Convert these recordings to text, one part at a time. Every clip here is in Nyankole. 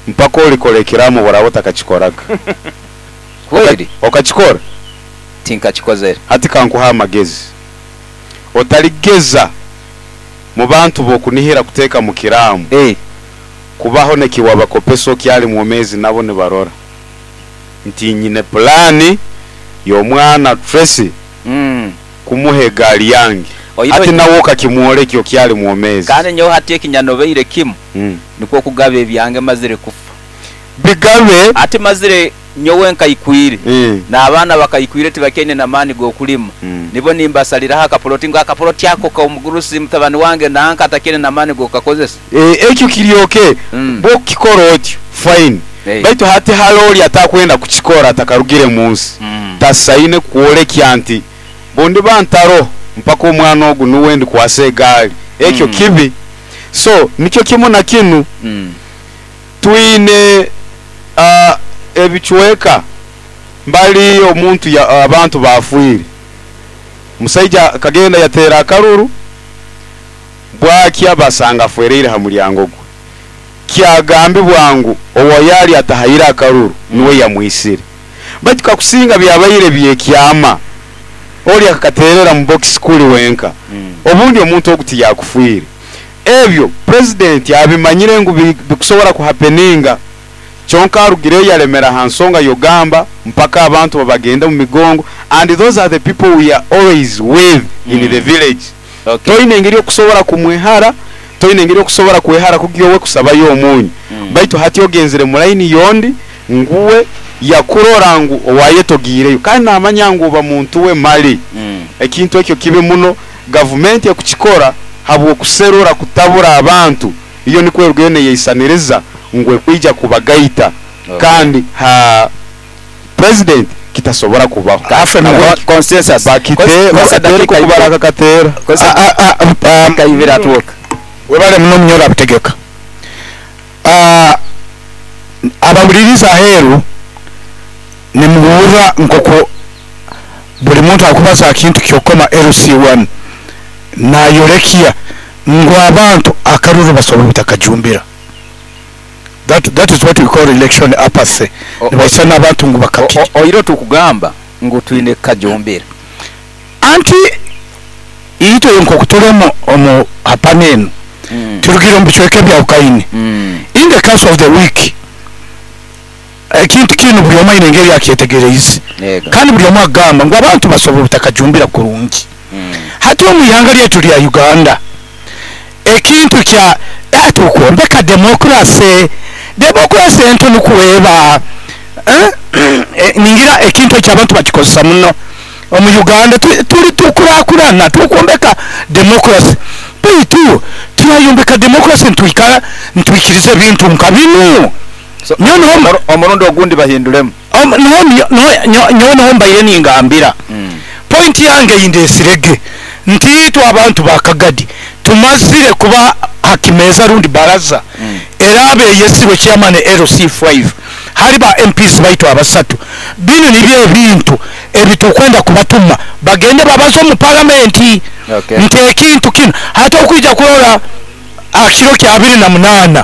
Mpaka orikora ekiraamo obu oraabe otakakikoraga. Kweri? Okakikora? Tinkakikozere. Hati ka nkuhe amagezi. Otarigeza mu bantu b'okunihira kuteeka mu kiraamo kubaho n'ekiwabakopesa okyali mwomeezi nabo nibarora. Nti nyine pulaani y'omwana Tracy kumuha egaari yange. Hati nawe okakimworekya okyali mwomeezi. Kandi nyowe hati ekinyanobeire kimu nikwo kugaba ebyange mazire kufa. Bigabe. Hati mazire nyowe nkaikwire, n'abaana bakaikwire tibakyaine na maani g'okulima. Nibo nimbasaliraho akapoloti ngu akapoloti ako k'omugurusi mutabani wange nanka atakyaine na maani g'okukakozesa. Ekyo kiri ok bw'okukikora otyo fine baitu hati hare ori atakwenda kukikora atakarugire mu nsi tasaine kworekya nti bundiba ntaroho mpaka omwana ogu nuwe ndikwasa egaari ekyo kibi so nikyo kimu na kinu twine ebicweka mbali omuntu abantu baafwire omusaija akagenda yateera akaruru Bwakya basanga afwereire ha mulyango gwe. Kyagambibwa ngu owayaali atahaire akaruru nuwe yamwisire. Baitu kakusinga byabaire by'ekyama, oli akakateerera mu bokisi kuli wenka, obundi omuntu ogu tiyakufwire. Ebyo Purezidenti abimanyire ngu bikusobora kuhapeninga, kyonka arugireyo yalemera ha nsonga y'ogamba mpaka abantu babagende mu migongo and those are the people we are always with in the village. Toine engeri okusobora kumwehara, toine engeri okusobora kwehara kugya owe kusabayo omunyu. Baitu hati ogenzire mu laini y'ondi ngu we yakurora ngu owayetogiireyo kandi namanya ngu oba muntu we mali. Ekintu ekyo kibi muno, gavumenti ekukikora habw'okuserura kutabura abantu, iyo nikwo erugayo neyeisaniriza ngu ekwija kubagaita kandi ha. President kitasobora kubaho. Nahabwekyo Consensus. bakite Kozesa bakateere dakiika nk'oku ibiri. barakakateera. Kozesa dakiika ibiri atwoka. Webale muno Munyoro Abutegeka. Abahuririza aheeru nimuhurra nkoku buri muntu arikubaza aha kintu ky'okukoma LC1 nayorekya ngu abantu akaruru basobora obutakajumbira. That that is what we call election apathy. Nibaisana abantu ngu bakakiri. Oire otukugamba ngu twine kukajumbira. Anti itwe nkoku turi omu omu hapana enu turugire omu bicweka ebyahukaine. In the course of the week ekintu kinu buri omwe aine engeri akyetegereize kandi buri omwe akugamba ngu abantu basobora obutakajumbira kurungi. Hati omu ihanga ryaitu rya Uganda ekintu kya tukwombeka democracy, democracy ento nikwo eba ningira ekintu ekyo abantu bakikozesa muno omu Uganda turi tukurakurana tukwombeka democracy baitu turayombeka democracy nitwikara nitwikiriza ebintu nka binu? Nyowe niho Omurundi ogundi bahinduremu. Nyowe niho mbaire ningambira. Point yange ei ndetsire ge nti itwe abantu ba Kagadi tumazire kuba aha kimeeza rundi baraza eraaba eyetsirwe chairman LC5 hali ba MPs baitu abasatu. Binu nibyo ebintu ebitukwenda kubatuma bagende babaze omu paramenti nti ekintu kinu hati okwija kurora aha kiro kya 28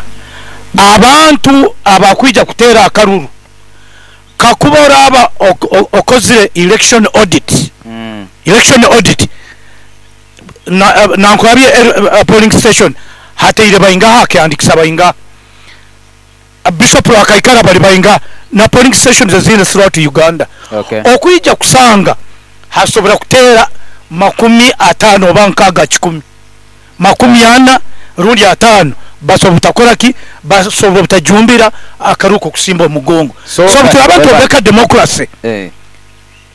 abantu abakwija kuteera akaruru Kakuba oraaba okozire election audit, election audit, nankurabye polling station hateire baingaha, hakehandikisa baingaha, Bishop Rwakaikara bari baingaha na polling stations ezindi throughout Uganda. Okwija kusanga hasobora kuteera 50 oba 60 kikumi. 40 rundi 50 basobora obutakora ki? Basobora obutajumbira akaruru k'okusimba omugongo. So So obuturaba nitwombeka democracy,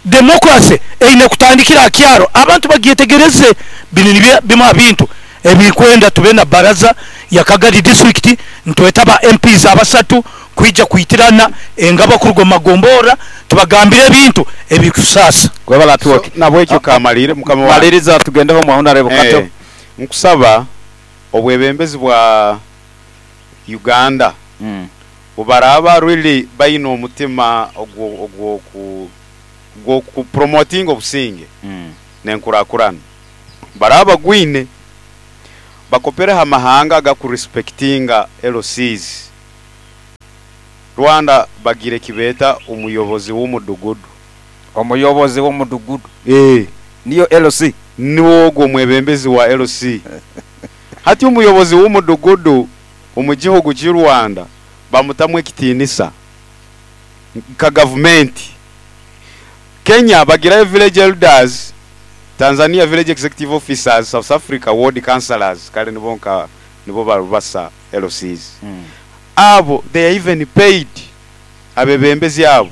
democracy eine kutandikira aha kyaro abantu bagyetegereze. Binu nibyo bimwe aha bintu ebirikwenda tube na baraza ya Kagadi district nitweta ba MPs abasatu kwija kwitirana engabo kuruga omu magomborra tubagambire ebintu ebirikutusaasa. Webale So Atwoki. nabwekyo kamalire mukama wange. Maliriza tugendeho omu Honarebo Kato. Nkusaba obwebembezi bwa Uganda bubaraaba really baine omutima ogw'oku promotinga obusinge n'enkurakurana, baraaba bagwine bakopereho amahanga agaku respectinga LCs. Rwanda bagira eki beeta omuyobozi w'omudugudu. Omuyobozi w'omudugudu Eeh. niyo LC? Niwe ogwo omwebembezi wa LC. Hati omuyobozi w'omudugudu omu gihugu ky'i Rwanda bamutamu ekitiinisa nka gavumenti. Kenya bagirayo village elders, Tanzania village executive officers, South Africa ward councillors kare nibo nka nibo barubasa LCs. Abo they are even paid abebembezi abo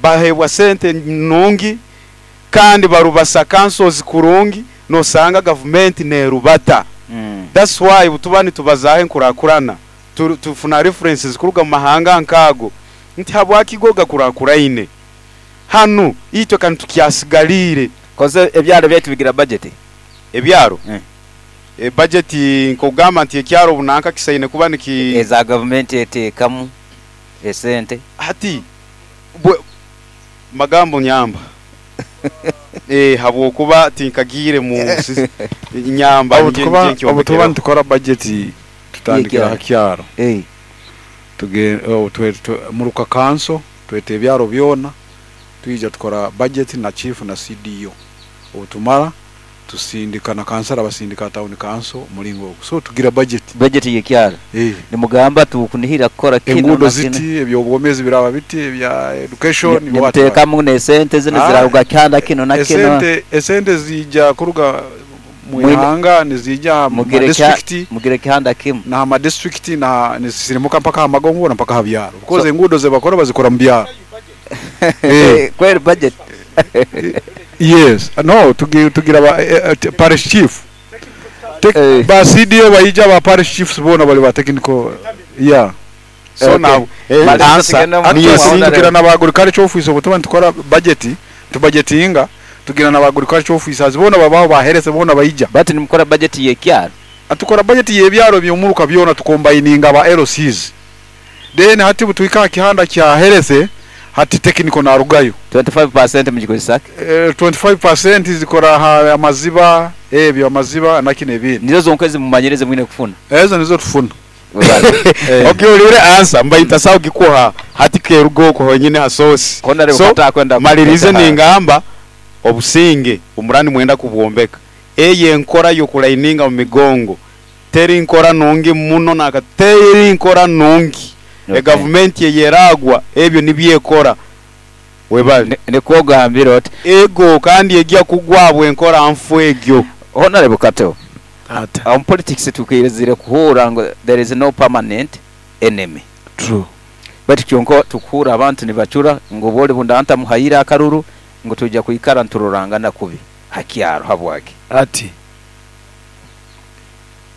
baheebwa sente nungi kandi barubasa councils kurungi nosanga gavumenti nerubata. That's why obutuba nitubazaaho enkurakurana tufuna references kuruga mumahanga nkaago nti habwaki go gakurakuraine hanu itwe ka nitukyasigariire. Koze ebyaro byaitu bigira budget? Ebyaro? E budget nk'okugamba nti ekyaro obunanka kisaine kuba niki. Eza gavumenti eteekamu esente. Hati bwe magambo nyamba eh habwokuba tinkagiire mu nsi nyamba Obu nje tukuba nje obu tuba nkyombekereho. nitukora budget tutandikira ha kyaro. Tuge obu twe twe muruka kanso tweta ebyaro byona twija tukora budget na chief na CDO. Obu tumara tusindika na kansara basindika ha town council omuringo ogwo. So tugira budget. Budget y'ekyaro Eh. nimugamba tukunihira kukora kinu Enguudo na kinu. ziti, eby'obwomezi biraba biti, ebya education, what what. Nimuteekamu n'esente zinu Ah, ziraruga kihanda kinu na kinu. esente esente ziija kuruga mu Mwine ihanga niziija aha ma mugire kya district mugire kihanda kimu. na ha ma district na nizisirimuka mpaka aha magombora mpaka aha byaro because So enguudo zebakora bazikora mu byaro. Eh. kweri budget. Yes, no tugira ba parish chief. Tek, Eh. ba CDO baija ba parish chiefs boona bari ba technical yeah. So Okay. now Maliza answer tugende omu niyo Actually mutima tugira honorable. na ba agriculture office obu tuba nitukora budget tubudgetinga tugira na ba agriculture officers boona babaho ba health boona baija. But nimukora budget y'ekyaro. Tukora budget y'ebyaro by'omuruka byona tukombininga ba LCs. Then hati butuhika aha kihanda kya health hati technical narugayo. 25% mugikozesa ki? 25% zikora aha amaziba ebyo amaziba nakino ebindi. Nizo zonka ezimumanyire ezimwine kufuna. Ezo nizo tufuna. Eh. Okay orire answer mba ntasaho kugikuha hati keruga okwo honyine ha source. Honorable So katakwenda malirize kuteta. ningamba obusinge omurani nimwenda kubwombeka. Eyo enkora y'okuraininga omu migongo teri nkora nungi muno naka teri nkora nungi. Okay. Egavumenti eyeragwa ebyo nibyo ekora. Webale. Nikwo ogambire oti. Ego kandi egya kugwabwa enkora nfu egyo. Honorable Kato. Ata. Omu politics tukirizire kuhuura ngu there is no permanent enemy. True. Baitu kyonka tukuhuura abantu nibacura ngu obwo ori bundanta muhaire akaruru ngu twija kwikara niturorangana kubi ha kyaro habwaki? Ati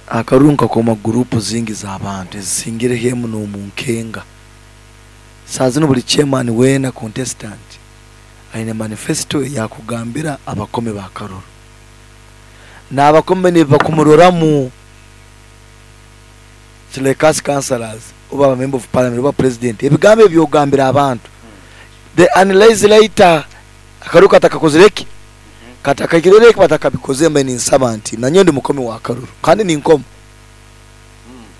akaruru nkakoma gurupu zingi z'abantu ezisingireho emu n'omunkenga. Saaha zinu buri chairman weena contestant aine manifesto eyakugambira abakome b'akaruru. N'abakome nibakumuroramu like us councillors oba aba member of parliament oba president ebigambo ebi ogambira abantu they analyze later akaruru katakakozire ki katakahikire ki batakabikoze mbe ninsaba nti nanyo ndi mukomi wa karuru kandi ninkoma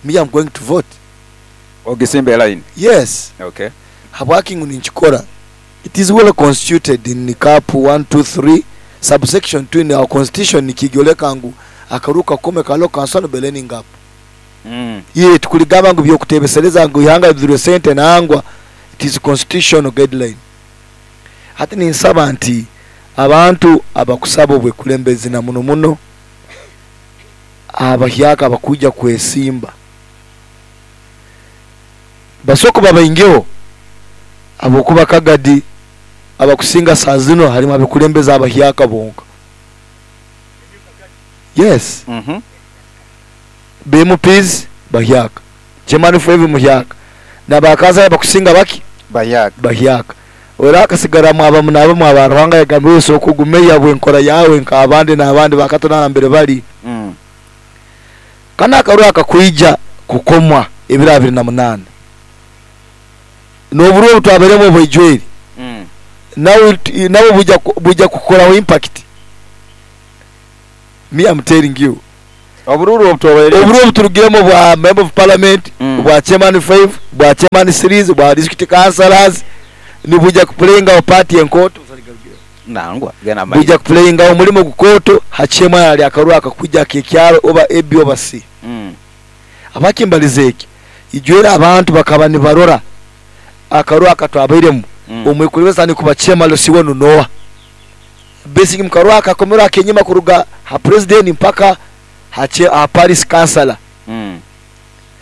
me I'm going to vote. Ogisimba line. Yes. Okay. Habwaki ngu ninkikora it is well constituted in cap 1 2 3 subsection 2 in our constitution nikigyoleka ngu akaruru kakome kalo kansano beleni ngapo. Ye tukuligamba ngu byokutebesereza ngu ihanga bizirwe sente nangwa it is constitutional guideline. Hati ninsaba nti abantu abakusaba obwekulembezi na muno muno abahyaka abakuja kwesimba basoko babaingeho abokuba kagadi abakusinga saa zino harimu abekulembeza abahyaka bonka. Yes. BMPs bahyaka. Chairman for muhyaka. Nabakaza abakusinga baki? Bahyaka. Bahyaka. Ora akasigara mwaba munaba mwaba Ruhanga yagambe wese okugumeya bwenkora yawe nk'abandi n'abandi bakatona mbere bari. Kana akaru akakwija kukomwa ebiro abiri na munana. N'oburo obutwaberemo obwijweri. Nawe nawe buja kukoraho impact. Me I'm telling you. Oburuuru obu twabaire. Oburuuru obu turugiremu obwa Member of Parliament, obwa Chairman Five, obwa Chairman Threes, obwa District Councillors nibwija ku playingaho part enkooto. Nangwa, genda mu maiso. Bwija ku playingaho omurimo gukooto ha Chairman ari akaruuru akakwija ak'ekyaro oba AB oba C. Habwaki mbalize eki? Ijwere abantu bakaba nibarora akaruuru aka twabairemu, omwekulembezi atandika kuba Chairman LC1 noha? Basic mu karuuru aka kakomerwe ak'enyima kuruga ha President mpaka ha Parish Councillor.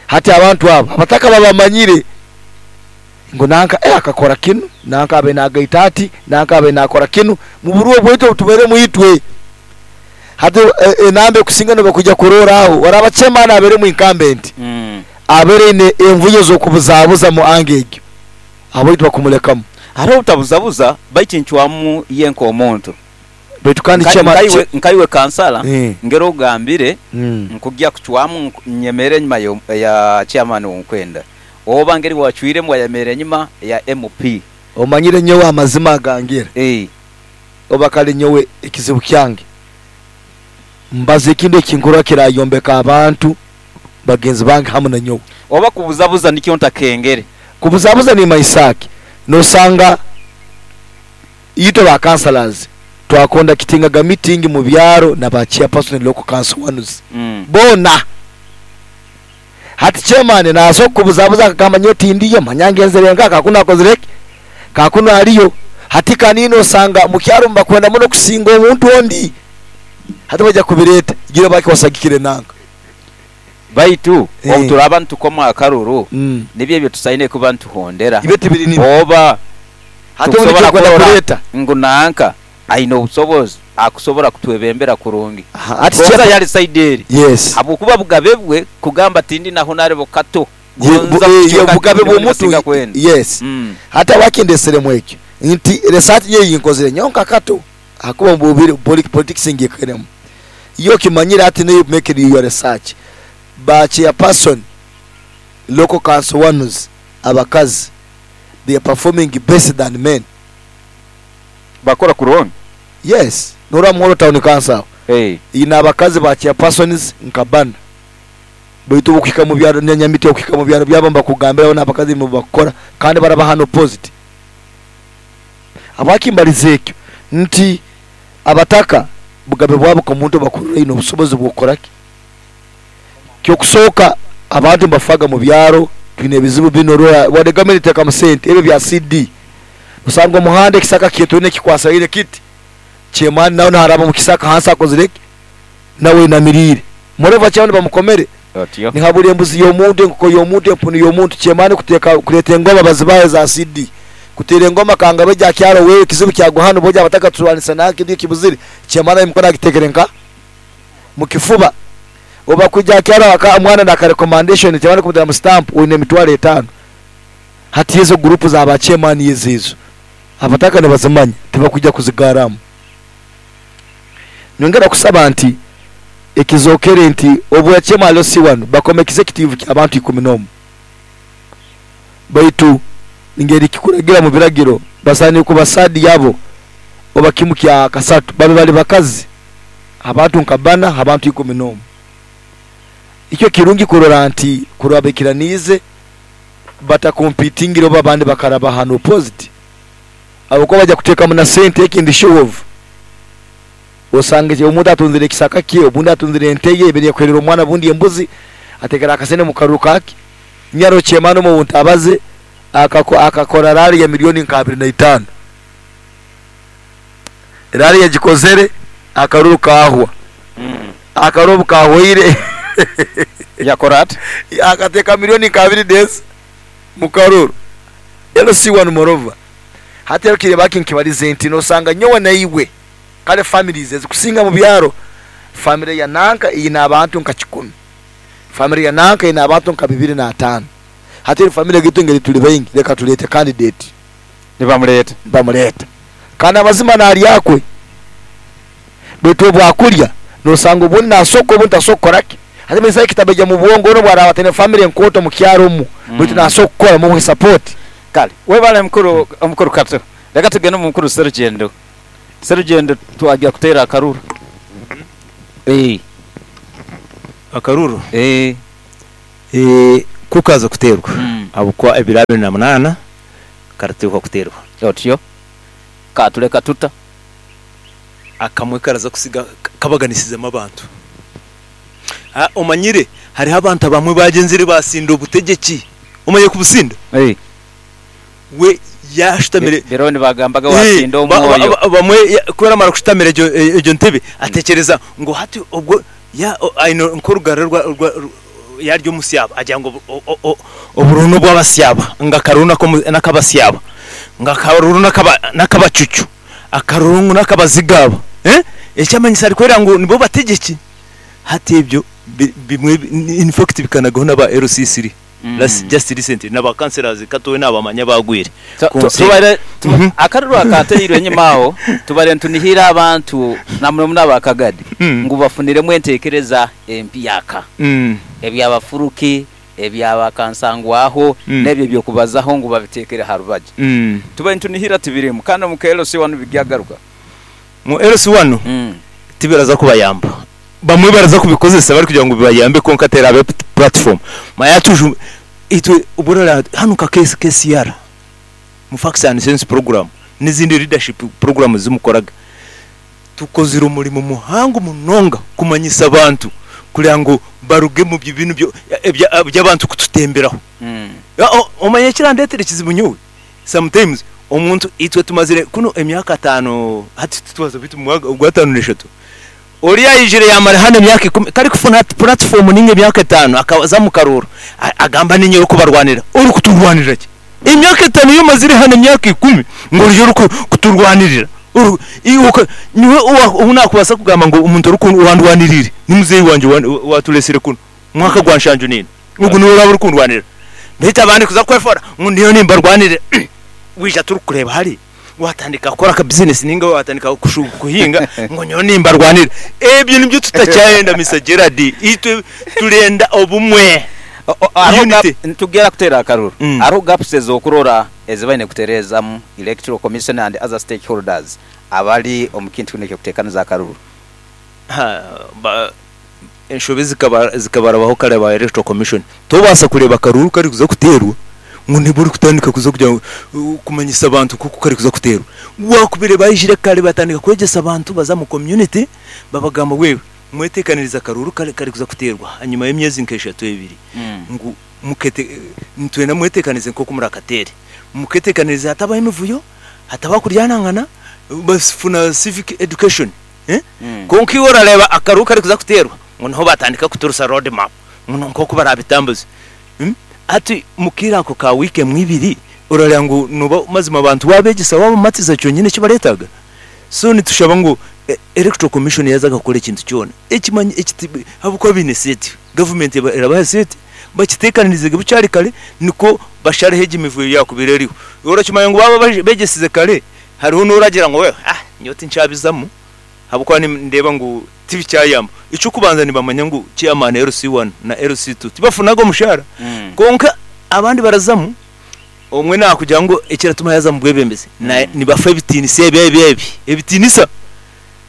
Hati abantu abo abataka babamanyire ngu nanka eh akakora kinu, nanka abaire nagaita ati, nanka abaire nakora kinu, mu buruo bwaitu obu tubairemu itwe. Hati enamba ekusinga nibakwija kuroora aho, oraba chairman abairemu incumbent, abaire aine envuyo z'okubuzabuza mu angle egyo, abaitu bakumulekamu. Hariho obutabuzabuza baitu encwamu ye nk'omuntu. Baitu kandi chairman. Nkaiwe kansala ngeri ogambire nkugya kucwamu nyemere enyima ya chairman owunkwenda oba ngeri wacwiremu wayemera enyima ya MP. Omanyire nyowe amazima agangira oba kale nyowe ekizibu kyange mbaza ekintu ekinkurora kirayombeka abantu bagenzi bange hamu na nyowe. Oba kubuzabuza nikyo ntakengere. Kubuzabuza nimanyisa ki? Nosanga itwe ba councillors twa conductingaga meeting mu byaro na ba chairperson local council ones boona. Hati chairman naza okukubuzabuza akagamba nyowe tindiyo manya ngenzere nka kakunu akozire ki kakunu ariyo. Hati kanini osanga mukyaro nibakwenda muno kusinga omuntu ondi. Hati baija kubireta gira baki osagikire nanka. Baitu obu turaaba nitukoma akaruru, nibyo ebyo tusaine kuba nituhondera. Ibyo tibiri nibyo. Oba Hati obu tukusobora nikyo nkwenda kurora kureeta. ngu nanka aine obusobozi akusobora kutwebembera kurungi. Aha, hati Gonza kye- yali saidi eri. Yes. Habwokuba bugabe bwe kugamba tindi na honarebo Kato. Ye, bu, Gonza eh, ye, kucweka bugabe nyowe bw'omuntu nibasinga kwenda. yes. Hati habwaki ndeseremu ekyo nti research nyowe ei nkozire nyowe nka Kato ahakuba omu bubire politics ngiikairemu. Iwe okimanyire hati niiwe make your research. Ba chairperson local council ones abakazi they are performing best than men. Bakora kurungi? Yes, norora Muhoro town council aho eine abakazi ba chairpersons nka bana baitu obu okuhika mubyaro na Nyamiti okuhika mubyaro byabo nibakugambira bona abakazi nibo bakukora kandi barabaha unopposed. Habwaki mbalize ekyo nti abataka bugabe bwabo nkomuntu obakurora aine obusobozi bwokukora ki? Kyokusooka abantu nibafaga mubyaro twine ebizibu binu orora wadde gavumenti etekamu sente ebi ebya CD osanga omuhanda ekisaka kyetwine kikwasaraire kiti chairman nawe naraba omu kisaka hansi akozire ki nawe ainamiriire moreover chairman bamukomere Otyo. nihabura embuzi y'omuntu enkoko y'omuntu empunu y'omuntu chairman kuteka kureta engoma bazibahe eza CD kutera engoma kanga beja kyaro wewe ekizibu kyagwa hanu boja abataka turwanisa nanka ebyo kibuzire chairman emikono agitekere nka mukifuba oba kwija kyaro aka omwana naka recommendation chairman kumutera mu stamp oine emitwaro etano hati ezo group za ba chairman ezo ezo abataka nibazimanya tibakwija kuzigaramu. Nyongera kusaba nti ekizokere nti obwa chairman LC1 bakoma executive kya bantu ikumi n'omu baitu ngeri kikuragira mu biragiro basaaniire kuba sadi yabo oba kimu kya kasatu babe bali bakazi abantu nka bana abantu ikumi n'omu. Ikyo kirungi kurora nti kurora baikiraniize batakompitingire oba abandi bakaraba hanu opposite ahabw'okuba baija kuteekamu na sente ekindi show off osange omuntu atunzire ekisaka kye obundi atunzire ente ye ebere ekuherera omwana obundi embuzi atekere akasente mu karuru kake nyaro chairman omu ntabaze akakora rally ya milioni nka abiri na itaano rally yagikozere akaruru kahwa akaruru obu kahwaire Yakora ata? Akateeka milioni nka abiri n'ezi mu karuru LC1 moreover hati rero kireba kinkibarize nti nosanga nyowe naiwe kale families ezikusinga mu byaro family ya nanka eine abantu nka kikumi family ya nanka eine abantu nka bibiri n'ataano hati eri family gitu ngeri turi baingi reka turete candidate Nibamureeta. Nibamureeta kandi amazima naryakwe baitu obu akurya nosanga obundi nasoka obundi tasoka kukora ki hati manyisa ekitabaija mu bwongo onu obwaraaba ataine family enkooto mu kyaro omu baitu nasoka kukora mumuhe support. Kale webale mukuru omukuru Kato. Leka tugende omu mukuru Serugendo. Serugendo twagya kuteera akaruru. Eeh. Akaruru Eeh. Ku kaaza kuteerwa ahabw'okuba ebiro abiri na munaana karateekwa kuteerwa. Otyo katureka tuta? Akamwe karaza kusiga kabaganisizemu abantu. Omanyire hariho abantu abamwe baagyenzire baasinda obutegyeki. Omanyire kubusinda? We yaashutamire. Biro nibagambaga waasinda omwoyo. Bamwe ku aramara kushutamira egyo ntebe atekyereza ngu hati obwo aine nk'orugara yaarya omusyaba agira ngu obururu n'obw'abasyaba ngu akaruru n'akabasyaba ngu akaruru n'akabacucu akaruru ngu n'akabazigaabo. Ekyamanyisa arikworeka ngu nibo bategyeki. Hati ebyo bimwe in fact bikanagaho n'aba LC3. Last just recently na ba councillors katowe nabamanya abagwire kunsi. Tubaire akaruru akateirwe enyima aho tubaire nitunihira abantu namuno muno aba Kagadi ngu bafuniremu entekereza empyaka ebyabafuruki, ebya ba kansangwaho nebyo ebyokubazaho ngu babitekere harubaju. Tubaire nitunihira tibirimu kandi omu KLC wanu bigyagaruka. Mu LC wanu tibiraza kubayamba. Bamwe baraza kubikozesa barikugira ngu bibayambe kwonka teraabe platform. Manya tuju itwe obu orareba hanu nka KCR mu Facts and Sense program n'ezindi leadership program ezi mukoraga, tukozire omurimo muhango munonga kumanyisa abantu kureba ngu baruge omu binu eby'abantu kututemberaho. Omanya ekirandeetera ekizibu nyowe? Sometimes omuntu itwe tumazire kunu emyaka ataano hati titwaza beitu omu mwaka gw'ataano n'eshatu. Oriya aijire yaamara hanu emyaka ikumi, ku arikufuna puratifoomu nainga emyaka etaano akaza omu karuuru, agamba niinye orikubarwanira. Orikuturwanirira ki? Emyaka etaano ei omazire hanu emyaka ikumi ngu oriyo orikuturwanirira? Nyowe ou naakubaasa kugamba ngu omuntu owandwaniriire ni muzeeyi wangye owaatureetsire kunu omu mwaka gwa nshanju naina. Ogu niwe oraabe orikundwanirira. Beitu abandi kuza kwefoora ngu ndiyo nimbarwanirira, waija turikukureeba hare. Watandika kukora ka business ninga watandika kuhinga ngu nyowe nimbarwanira. Ebyo nibyo tutakyayenda Mister Gerald. Itwe turenda obumwe. Unity. Nitugera kuteera akaruru. Hariho gaps ez'okurora ezi baine kutereezamu Electoral Commission and other stakeholders abari omu kintu kinu eky'okuteekaniza akaruru. Enshobe zikabarabaho kare aba Electoral Commission. Tobaasa kureeba akaruuru karikuza kuteerwa ngu nibwo orikutandika kuza kugira ngu kumanyisa abantu nk'oku karikuza kuteerwa. Wakubaire baijire kare batandika kwegyesa abantu baza omu community babagamba wewe mweteekanirize akaruuru karikuza kuteerwa ahanyima y'emyezi nk'eshatu ebiri ngu mukete nitwenda mweteekanize nk'oku murakateere. Muketeekanirize hatabaho emivuyo, hatabaho kuryanangana, bafuna civic education. Kwonka iwe orareeba akaruuru karikuza kuteerwa ngu niho batandika kuturusa road map ngu nk'oku baraabitambuze. Hati omu kaire ako ka wiiki emwe ibiri orareeba ngu nooba mazima abantu waabegyesa waabamatiza kyonyine eki bareetaaga. So nitushaba ngu Electoral Commission yaaza kukora ekintu kyona ahabw'okuba baine sente, gavumenti erabaha sente bakiteekanirize gye bukyari kare nikwo bashareho egi mivuyo yaakubaire eriho. Orakimanya ngu baaba begyesize kare Hariho n'oragira ngu ah nyowe tinkyabizamu ahabw'okuba nindeeba ngu tibikyayamba. Eky'okubanza nibamanya ngu chairman LC1 na LC2 tibafunaga omushaara kwonka abandi barazamu omwe naakugira ngu ekiratuma yaaza omu bwebembezi nibafa ebitiinisa ebi ebi ebi ebitiinisa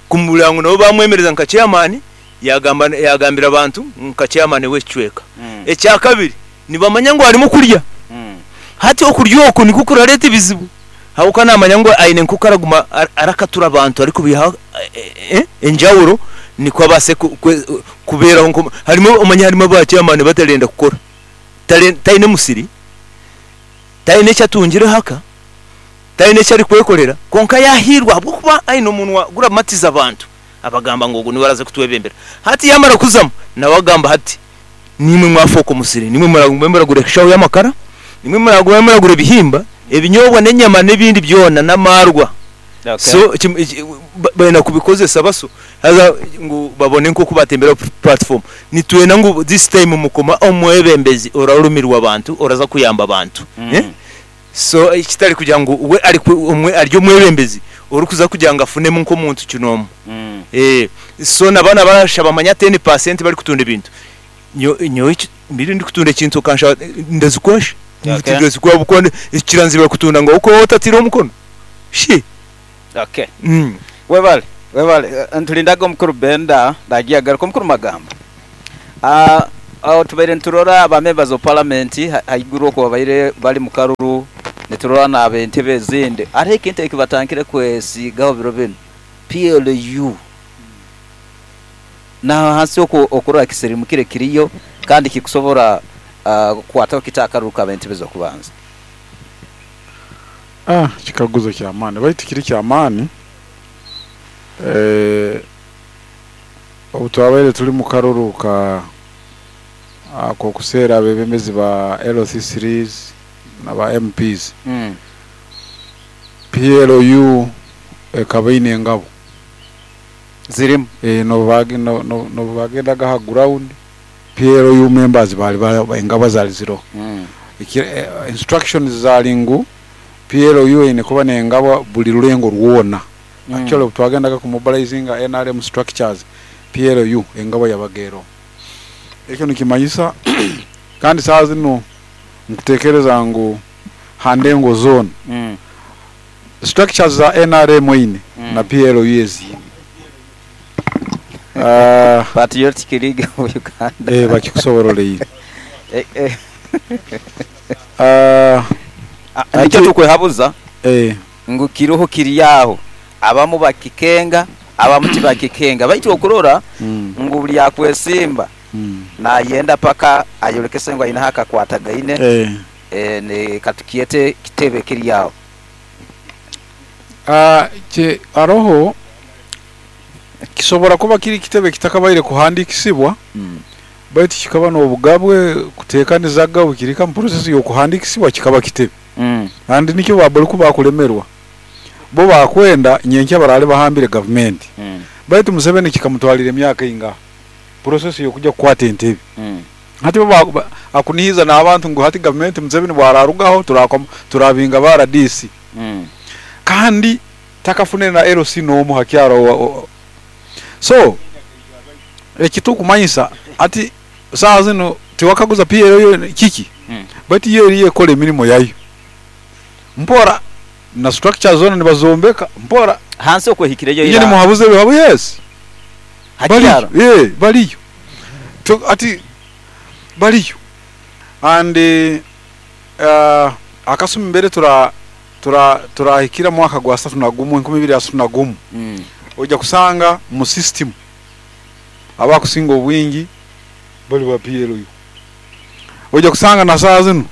kumureba ngu nabo baamwemereza nka chairman yaagamba yaagambira abantu nka chairman w'ekicweka. Ekyakabiri nibamanya ngu harimu okurya hati okurya oku nikwo kurareeta ebizibu. Ahabw'okuba naamanya ngu aine nk'oku araguma arakatura abantu arikubaihaho enjawuro nikwo abaase kubeeraho nk'omu. Harimu omanye harimu ba chairman batarenda kukora. Taine musiri, taine eki atungireho aka, taine eki arikwekorera kwonka yaahiirwa ahabw'okuba aine omunwa guramatiza abantu, abagamba ngu ogu niwe araaze kutwebembera. Hati yaamara kuzamu, nawe agamba ati, Niimwe mwafooka omusiri, niimwe muragume muragura eshaho y'amakara, niimwe muragume muragura ebihimba, ebinyobwa n'enyama n'ebindi byona n'amaarwa. So baine kubikozesa baso haza ngu babone nk'oku batembera platform. Nitwenda ngu this time mukome omwebembezi orarumirwa abantu, oraza kuyamba abantu. So kitari kugira ngu we ari omwe ari omwebembezi orikuza kugira ngu afunemu nk'omuntu kinoomu. So na banu abarashaba manya 10% barikutunda ebintu, nyowe mbire ndikutunda ekintu okanshaba ndazikwashi? Tindazikuha ahabw'okuba kiranzibira kutunda ngu ahabw'okuba waaba otataireho omukono? Shi! Okay. Webale, webale. Niturindaga omukuru Benda naija agaruke. Omukuru Magamba. Aho tubaire niturora ba members of parliament haiguru okwo babaire bari mu karuru, niturora n'abentebe ezindi, hariho ekintu ekibatandikire kwesiigaho biro binu, PLU. N'ahansi okwo okurora kisirimukire kiriyo kandi kikusobora kukwataho kita akaruru k'abentebe z'okubanza? Kikaguzo ky'amaani baitu kiri ky'amaani. Obu twabaire turi mu karuru ka ak'okuseera abeebembezi ba LC3's na ba MP's, PLU ekaba eine engabo. Zirimu. N'obu baagendaga aha ground, PLU members baali engabo zaali ziroho. Instructions zaali ngu PLU eine kuba n'engabo buri rurengo rwona. Actually obu twagendaga ku mobilizinga nrm structures, PLU engabo yabaga eroho. Ekyo nikimanyisa kandi saaha zinu nkutekereza ngu ha ndengo zoona structures za nrm eine na PLU eziine. Patriotic League of Uganda. Bakikusobororeire. Nikyo tukwehabuza. Ngu kiroho kiri aho, abamu bakikenga, abamu tibakikenga. Baitu okurora ngu buli akwesimba nayenda paka ayolekese ngu aine akakwatagaine ne katukyete kitebe kiri aho. Haroho kisobora kuba kiri kitebe kitakabaire kuhandikisibwa baitu kikaba n'obugabwe kutekanizaga obu kiri mu process y'okuhandikisibwa kikaba kitebe. Kandi nikyo ba buri ku bakuremerwa bo bakwenda nyenkya baraare bahambire gavumenti. Baitu Museveni kikamutwarira emyaka eingaha process y'okuja kukwata entebe. Hati bo akunihiza n'abantu ngu hati gavumenti Museveni bwararugaho turabinga ba rdc. Kandi takafunire na LC n'omu ha kyaro. So ekitukumanyisa hati saaha zinu tiwakaguza PLU kiki baitu yo eriyo ekora emirimo yayo mpora na structures zoona nibazombeka mpora. Hansi okwo ehikireyo ira. Inye nimuhabuza ebihabu yes. Ha kyaro? Bariyo, eh bariyo. Hati bariyo and akasumi mbere tura tura turahikira mwaka gwa 31 2031 oija kusanga mu system abakusinga obwingi bari ba PLU. Oija kusanga na saaha zinu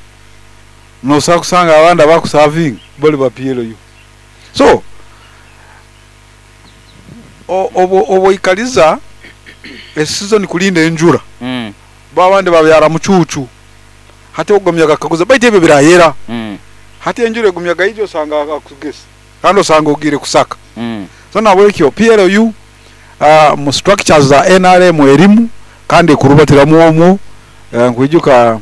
nosobola kusanga abandi abakusavinga bari ba PLU. So obu oikariza esizoni kurinda enjura, bo abandi babyara mucuucu. Hati ogumya akakaguza baitu ebyo birayera. Hati enjura egumya gaija osanga akugesa kandi osanga ogiire kusaka. So nahabwekyo PLU mu structures za nrm erimu kandi ekurubatiramu omwo. Nkwijuka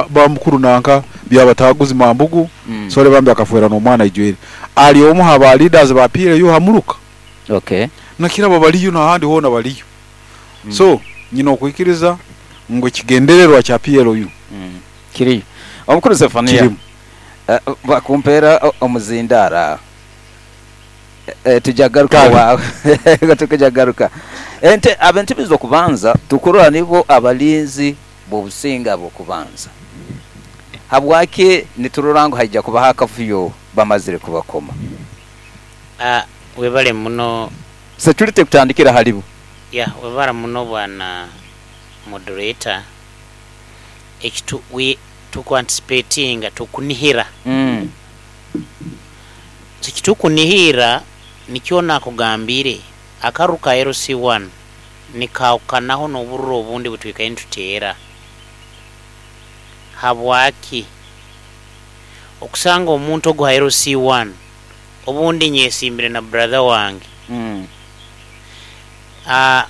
ba mukuru nanka Byabataaguzi Mambugu, sorry bambi akafwera n'omwana aijwire. Ari omu ha ba leaders ba PLU ha muruka. Nakiraba bariyo n'ahandi hoona bariyo. So nyine okwikiriza ngu ekigendererwa kya PLU Kiriyo. Omukuru Zephania, kirimu. Bakumpeera omuzindaaro aho. Tujja kugaruka Kale. owaawe. Tukujja kugaruka. Ente ab'entebe z'okubanza tukurora nibo abalinzi b'obusinge ab'okubanza. Habwaki niturora ngu haija kubaho akavuyo bamazire kubakoma? Webale muno. Security kutandikira halibo. Yeah, webale muno bwana moderator. Eki tu, we, tuku anticipatinga, tukunihira. So eki tukunihira nikyo nakugambiire, akaruru ka LC one nikahukanaho n'obururu obundi butwikaire nituteera. Habwaki? Okusanga omuntu ogu ha LC one, obundi nyesimbire na brother wange.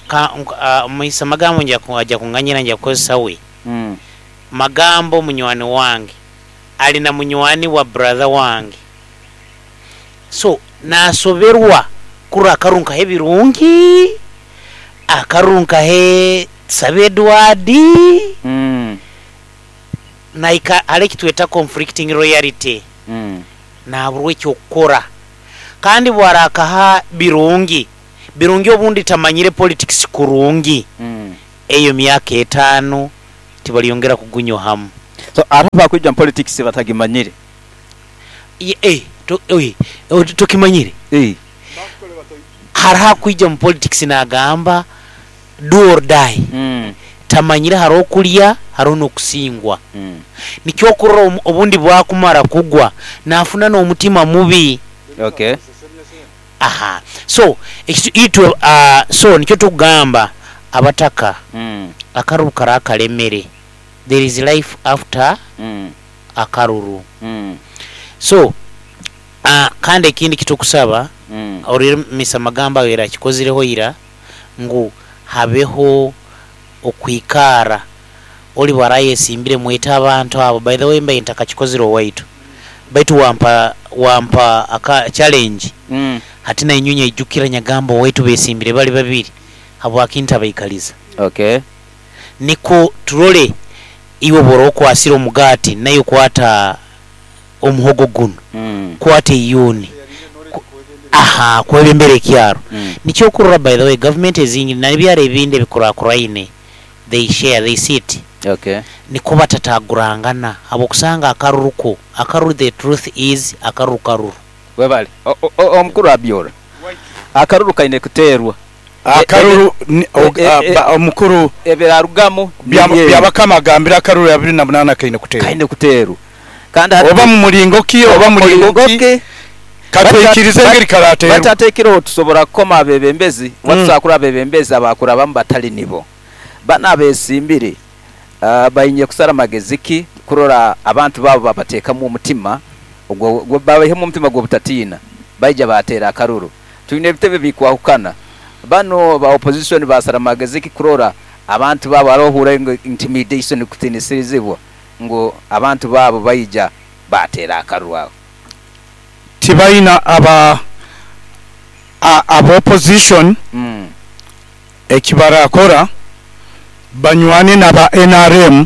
Ka, Muhisa Magambo nja, aja kunganyira nja kukozesa we. Magambo munywani wange, ali na munywani wa brother wange. So nasoberwa kurora akaruru nkahe Birungi, akaruru nkahe Tusabe Edward, nahika hariho eki tweta conflicting loyalty, naburwa eky'okukora. Kandi bwarakaha Birungi, Birungi obundi tamanyire politics kurungi. Eyo myaka etaanu tibalyongera kugunyohamu. So hariho abakwija mu politics batagimanyire. Eh, tokimanyire? Hariho akwija mu politics nagamba do or die. Tamanyire hariho okulya hariho n'okusingwa. Nikyo okurora obundi bwakumara kugwa nafuna n'omutima mubi. Okay. Aha. So, itwe, so nikyo tukugamba abataka akaruru kari akaremere. There is life after akaruru. So, kandi ekindi ekitukusaba, orire Mister Magambo abaire akikozireho ira, ngu habeho okwikaara oriba arayesimbire mwete abantu abo. By the way mbaire ntakakikozire owaitu baitu wampa wampa aka challenge hati nainywe nyaijukira nyagamba owaitu besimbire bali babiri habwaki ntabaikaliza. Okay. Nikwo turole iwe bwora okwasire omugati naiwe kwata omuhogo gunu, kwata eiyuuni, aha, kwebembera ekyaro. Nikyo okurora by the way government ezingi nebyaro ebindi ebikurakuraine they share, they sit Okay. nikwo batatagurangana habwokusanga akaruru ko akaruru the truth is akaruru karuru. Webale. Omukuru Abiora, akaruru kaine kuteerwa. Akaruru omukuru Ebirarugamu nibyo ebi. Byabakama agambire akaruru 28 kaine kuteerwa. Kaine kuteerwa. Kandi hati Oba mu muringo ki oba muringo ki katwikirize engeri karateerwa. Bati hati ekiroho tusobora kukoma abebembezi oba tusobora kurora abebembezi abakurabamu batali nibo. Banu abesimbire baine kusara magezi ki kurora abantu baabo babateekamu omutima babaihemu omutima gw'obutatiina baija baateera akaruru. Twine ebitebe bikwahukana. Banu ba opposition basara magezi ki kurora abantu baabo haroho ohuura ngu intimidation kutiinisirizibwa ngu abantu baabo baija baateera akaruru aho. Tibaina aba aba opposition ekibarakora banywane naba nrm,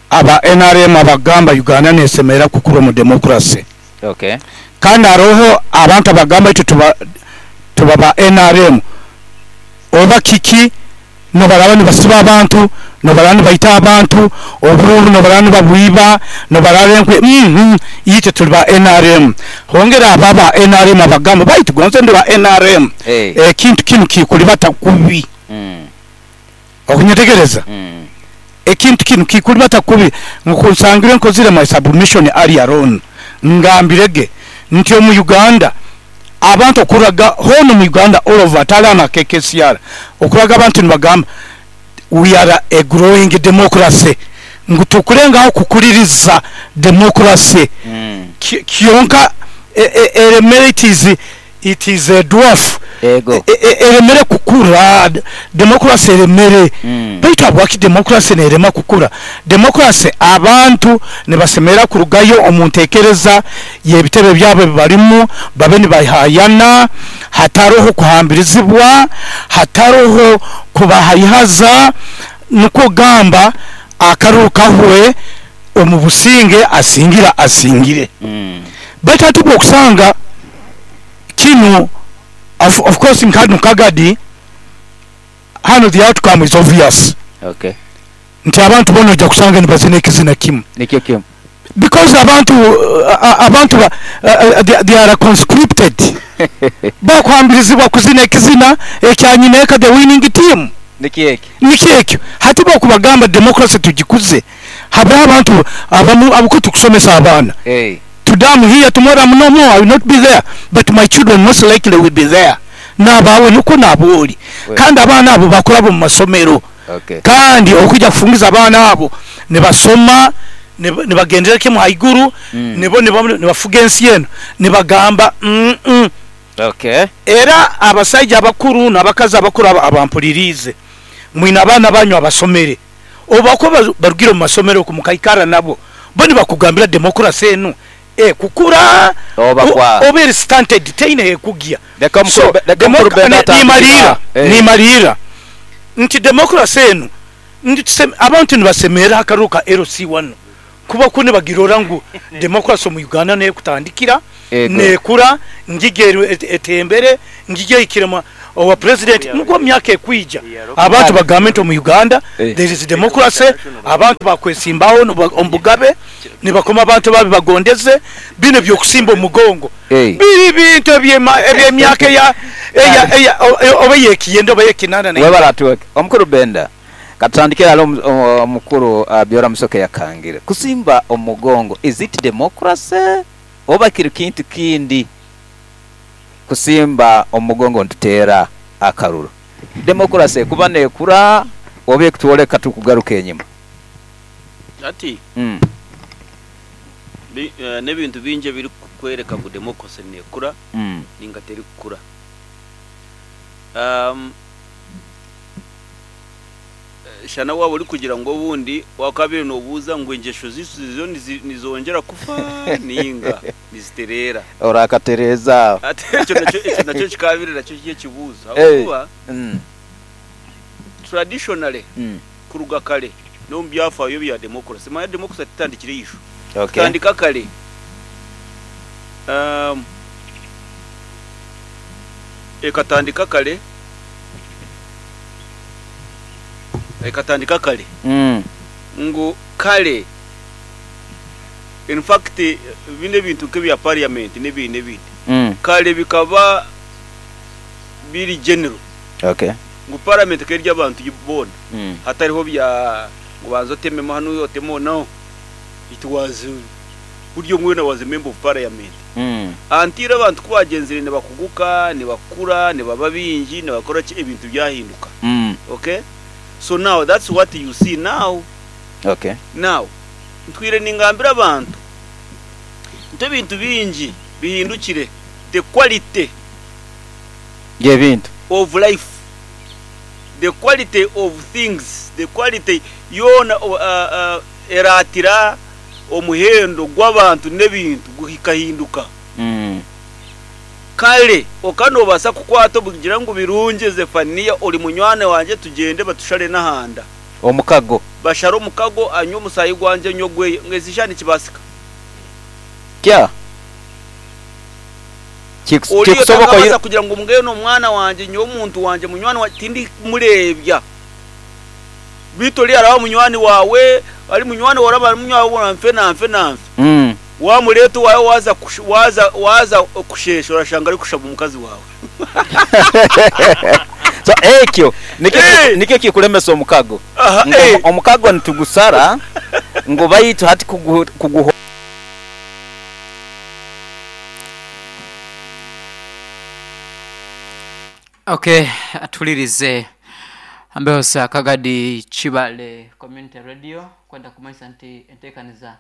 aba nrm abagamba Uganda nesemerera kukura omu democracy. Okay. Kandi haroho abantu abagamba itwe tuba tuba ba nrm oba kiki nobaraba nibasiba abantu, nobaraba nibaita abantu, obururu nobaraba nibabwiba, nobaraba enkwe uhmm itwe turi ba nrm. Hongera abo aba nrm abagamba baitu gonze ndi wa nrm ekintu kinu kikuribata kubi. Okunyetegereza? Ekintu kinu kikuribata kubi. Nkoku nsangire nkozire my submission earlier on, ngambire ge nti omu Uganda abantu okuraga hoona omu Uganda all over hatari hanu aha KKCR, okuraga abantu nibagamba we are a growing democracy ngu tukurengaho kukuririza democracy kyonka eremere it is It is a dwarf. Ego. Eremere kukura, democracy eremere. Baitu habwaki democracy nerema kukura? Democracy abantu nibasemerera kurugayo omu ntekereza y'ebitebe byabo ebi barimu babe nibahayana hataroho kuhambirizibwa, hataroho kubahaihaza, nukwo gamba akaruru kahwe omu businge asingire asingire. Baitu hati obwokusanga kinu of of course nka hanu Kagadi hanu the outcome is obvious Okay. nti abantu bona oija kusanga nibazina ekizina kimu Nikyo kimu. because abantu abantu ba they are conscripted bakuhambirizibwa kuzina ekizina ekya nyineeka the winning team. Nikyo ekyo. Nikyo ekyo. Hati bwokubagamba democracy tugikuze habeho abantu abamu ahabw'okuba tukusomesa abaana. Today am here tomorrow am no more I will not be there but my children most likely will be there nabaawe nikwo naaba ori kandi abaana abo bakuraba omu masomero kandi okwija kufungiza abaana abo nibasoma nibagendera kimwe haiguru nibo nibafuga ensi enu nibagamba umm era abasaija abakuru nabakazi abakuru abampuririize mwine abaana banyu abasomere Obu bakuba barugire omu masomero oku mukaikara nabo, bo nibakugambira democracy enu ekukura Oba kwa. oba eri stunted teine hekugya. Leka So omukuru leka omukuru Benda atandike nimaliira eh. nimaliira nti democracy enu nti abantu nibasemerera aha karuru ka LC wanu. Kuba ku nibagirora ngu democracy omu Uganda nekutandikira, Ego. nekura, ngigyo etembere, ngigyo ehikire owa president, nukwo omu myaka ekwija abantu bagambe nti omu Uganda there is democracy, abantu bakwesimbaho omu bugabe, nibakoma abantu ababi bagondeze, binu ebyokusimba omu mugongo biri bintu ebyemyaka eya eya oba eyekiyenda oba eyekinana Webale neitano. atuweke. Omukulu Benda. Katutandikire ghale omukulu Byora Musoke yakangire. Kusimba omugongo is it democracy oba kiri kintu kindi kusimba omugongo nituteera akaruru? Democracy ekuba nekura oba ekutwoleka tukugaruka enyima? Hati n'ebintu bingi ebirikukworeka ngu democracy nekura ninga terikukura. Shana waaba orikugira ngu obundi waakaabaire noobuuza ngu engyesho zaitu zo nizongyera kufa nainga nizitereera. Orakatereeza aho. Hati ekyo nakyo ekyo nakyo kikaabaire nakyo kiri ekibuuzo ahabw'okuba traditionally kuruga kare n'omu byafaayo bya democracy, manya democracy tetandikire eisho, ekatandika kare. Ekatandika kare. Ekatandika kare ngu kare in fact binu ebintu nk'ebya parliament n'ebindi n'ebindi kare bikaba biri general ngu parliament ekaba eri ey'abantu boona hatariho bya ngu banza otememu hanu oteme no it was buri omwe weena was a member of parliament until abantu ku bagyenzire nibakuguka nibakura nibaba baingi nibakora ki ebintu byahinduka okay so now that's what you see now Okay. Now ntwire ningambira abantu nti ebintu bingi bihindukire the quality Y'ebintu. of life the quality of things the quality yoona eratira omuhendo gw'abantu n'ebintu gukahinduka. Kare okaba noobaasa kukwata obugira ngu birungi Zefaniya ori munywani wangye tugyende batushare n'ahanda. Omukago. Bashare omukago anywe omusaayi gwangye nywe ogweye. Ngu ezi shaaha nikibaasika? Kya. Oriya Kikusoboka otakabaasa kugira ngu mbwenu omwana wangye nyowe omuntu wangye munywani wangye tindimureebya. Beitu oriya araba munywani waawe, ari munywani waawe araba ari munywani waawe nfe na nfe na nfe. Waamureeta owaawe waaza waaza waaza kusheesha orashanga arikushaba omukazi waawe. So ekyo nikyo nikyo kikuremesa omukago. Ngu omukago nitugusara ngu baitu hati kuguho. Ok atulirize Mbehosa Kagadi Kibale Community Radio kwenda kumanyisa nti entekaniza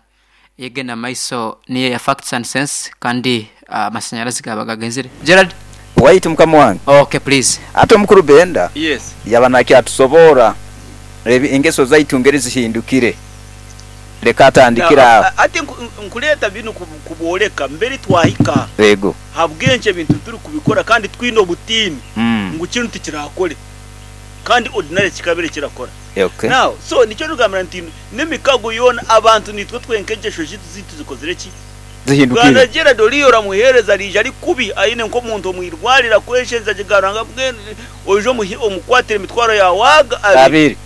eyegenda mumaiso niyo eya Facts and Sense kandi amasanyarazi gaba gagenzire. Gerald. Waitu mukama wange. Ok please. Ate omukuru Benda Yes. yaba nakyatusoboora engeso zaitu ngeri zihindukire. Leka atandikire aho. Hati nkureeta binu kubooreka mberi twahika Ego. ahabw'enki ebintu turi kubikora kandi twine obutiini ngu kinu tikirakore kandi ordinarily kikabire kirakora. Okay. Now, so nikyo ndikugambira nti n'emikago yoona abantu nitwe twenka engyesho zaitu zaitu zikozire ki? Zihindukire. Bwana Gerald oriya oramuheereza ariija ari kubi aine nk'omuntu omu irwariro akweshengyeza agigamba ngu mbwenu oije omukwatire emitwaro yaawe aga abiri. Abiri.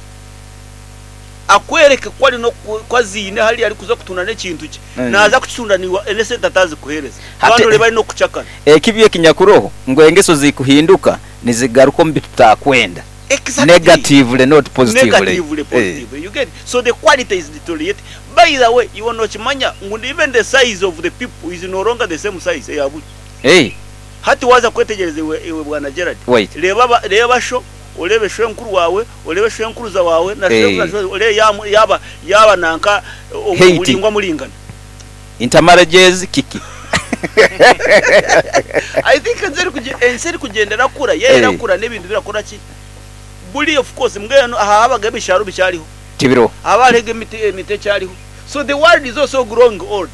Akwereke ku ari n'oku aziine hariya arikuza kutunda n'ekintu kye. Naaza kukitunda naiwe n'esente ataazikuheereza. Hati Kandi oreebe ari n'okukucakara. ekibi ekinyakuroho ngu engeso zikuhinduka nizigaruka omu bitutakwenda. Exactly. Negatively not positively. Negatively, positively. You get it? So the quality is deteriorating. By the way, iwe nookimanya ngu even the size of the people is no longer the same size eya buri. Hati waaza kwetegyereza iwe, iwe Bwana Gerald, Wait. reeba aba, reeba sho, oreebe shwenkuru waawe, oreebe shwenkuruza waawe, na shwenkuru na shwe, oreebe yaaba, yaaba, yaaba nanka Height. oburingwa muringana. Intermarriages kiki? I think ensi erikugye, ensi erikugyenda erakura, yo erakura n'ebintu birakora ki? Buri of course mbwenu aha habaga ebishaaru bikyariho. Tibiriho. Haba hariho emiti, emiti ekyariho. So the world is also growing old.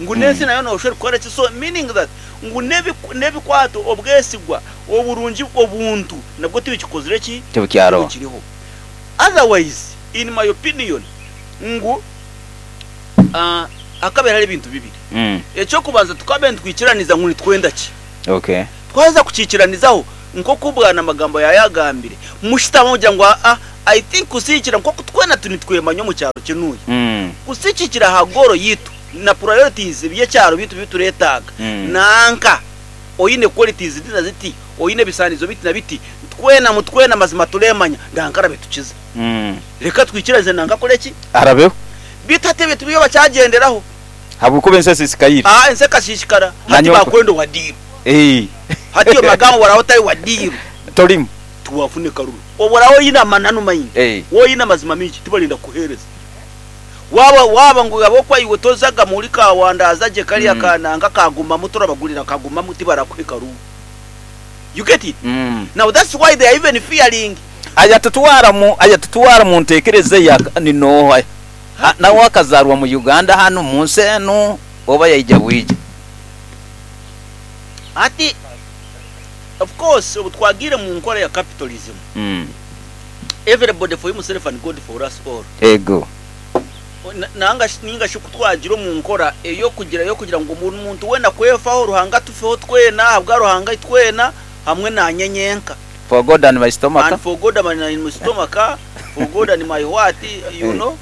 Ngu n'ensi nayo noshusha erikukora ki? So meaning that ngu n'ebikwato, obwesigwa, oburungi, obuntu nabwo tibikikozire ki? Tibukyaroho. Tibukiriho. Otherwise in my opinion ngu Hakabaire hariho ebintu bibiri. Eky'okubanza tukabaire nitwikiraniza ngu nitwenda ki. Twaheza kukiikiranizaho nk'oku Bwana Magambo yaayagambire, mushutame mugira ngu aa, I think kusiikira nk'oku twena nitwemanya omu kyaro kinuya, kusiikikira aha goal yaitu na priorities by'ekyaro byaitu ebi tureetaaga, nanka oine qualities ziti na ziti, oine ebisaanizo biti na biti, twena mu twena mazima tureemanya, nanka arabe tukize. Reka twikiranize nanka akore ki? Arabeho. Beitu hati ebyo tibyo bakyagyenderaho. Habw'okuba ensi esiisikaire. Aa, ensi ekasiisikara. Hati baakwenda owa diiru. Hati omu magambo oraabe otari wa diiru. Torimu. Tiwaafuna ekaruru. Obu oraabe oine amananu maingi, waaba oine amazima maingi, tibarenda kukuheereza. Waaba, waaba ngu ahabw'okuba iwe tozaga muri kaawandaaza gye kariya ka nanka kagumamu torabagurira kagumamu tibarakuha ekaruru. You get it? Now that's why they are even fearing. Ayatutwara mu, ayatutwara mu ntekereza eya ni nooha? Nawe akazaarwa mu Uganda hanu mu nsi enu oba yaija bwija? Hati of course obu twagiire mu nkora ya capitalism, everybody for himself and God for us all. Ego. Nanga shi ninga shi ku twagira omu nkora ey'okugira ey'okugira ngu buri muntu weena kwefaho, Ruhanga atufeho twena, ahabwa Ruhanga itwena hamwe naanye nyenka. For God and my stomach. And for God and my stomach, for God and my what, you know,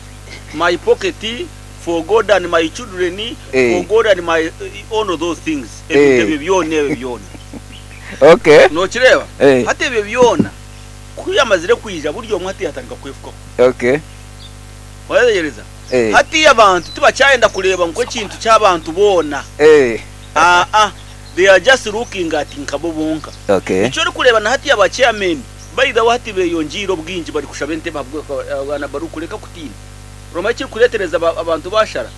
my pocket, for God and my children, for God and my all of those things. Ebintu ebyo byona ebyo byona. Okay. Nokireeba? Hati ebyo byona ku yamazire kwija buri omwe hati yatandika kwefukaho. Okay. Wayetegyereza? Hati abantu tibakyayenda kureeba ngu ekintu ky'abantu boona. Aa, they are just looking at nkabo bonka. Okay. Nikyo orikureeba na hati aba chairmen by the way hati beyongyeire obwingi bari kushaba entebe ahabw'abaana barikureka kutiina. Oramanya ekirikureetereza abantu bashara?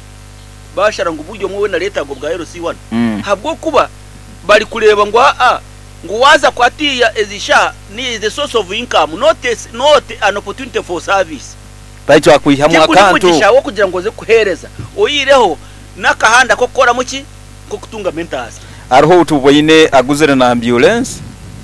Bashara ngu buri omwe weena areetaaga obwa LC1 ahabw'okuba bari kureeba ngu aa ngu waaza ku hatiiya ezi shaaha ni is a source of income not a, not an opportunity for service. Baitu akwihamu Tikuri akantu. mugisha w'okugira ngu oze kuheereza oyihireho n'akahanda k'okukoramu ki? K'okutungamu entaasa. Hariho ou tuboine aguzire na ambyulensi.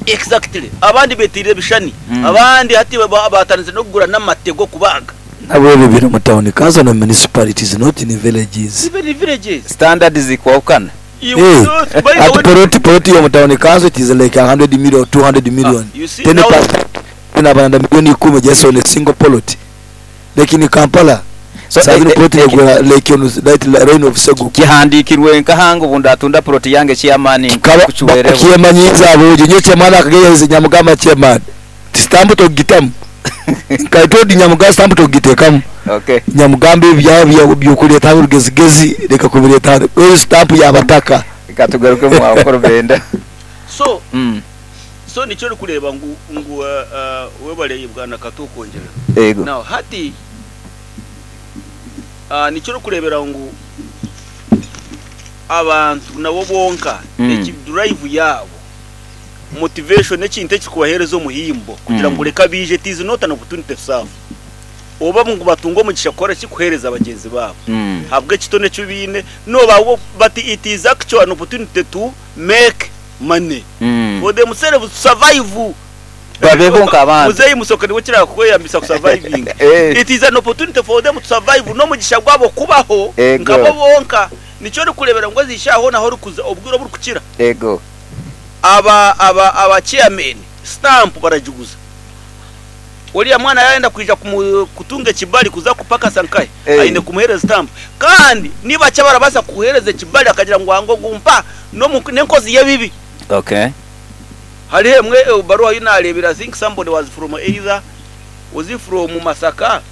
Exactly. Abandi beteire ebishushani, abandi hati batandikire n'okugura n'amate g'okubaaga. Nabwo ebyo biri omu town council na municipalities not in villages. Even in villages. Standard zikwahukana. Eh, ati poloti poloti y'omu town council it is like 100 million or 200 million. You see, Ten now- percent nabaranda milioni ikumi just on a single poloti. Like in Kampala, So, saa zino eh, poloti eh, negura like on that line of Seguku. Kihandiikirwe nkaha ngu obundatunda poloti yange chairman Kaba nkucwereho. okyemanyiiza ahabw'egyo nyowe chairman akageyaheza nyamugamba chairman ti stamp tokugitamu nka I told nyamugamba stamp tokugiteekamu Okay. nyamugamba ebyo byaba by'okureeta hanu rugezigezi reka kubireeta hanu eyo stamp y'abataka. Reka tugarukemu aho Nkurubenda. So So nikyo orikureeba ngu ngu webare Bwana Kato okwongyera. Yego. Now hati nikyo orikureebera ngu abantu nabo bonka eki drive yaabo, motivation n'ekintu ekirikubaheereza omuhimbo kugira ngu reka baije it is not an opportunity to serve. Oba ngu batunge omugisha kukora ki? Kuheereza bagyenzi baabo ahabw'ekitone eki baine noba but it is actually an opportunity to make money for themselves to survive. Babeho nk'abantu. Muzeeyi Musoke niwe okira kweyambisa ku surviving. It is an opportunity for them to survive n'omugisha gwabo kubaho nkabo bonka. Nikyo orikureebera ngu ezi shaaha hoona ahorikuza obwire oburikukira aba aba aba chairman stamp baragiguza. Oriya mwana yaayenda kwija kutunga ekibari kuza kupakasa nkahi aine kumuheereza stamp. Kandi ni bakye abarabaasa kukuheereza ekibari akagira ngu angu ogu mpa n'enkozi y'ebibi. Okay. Hariho emwe ebaruha ei naareebire I think somebody was from either was he from Masaka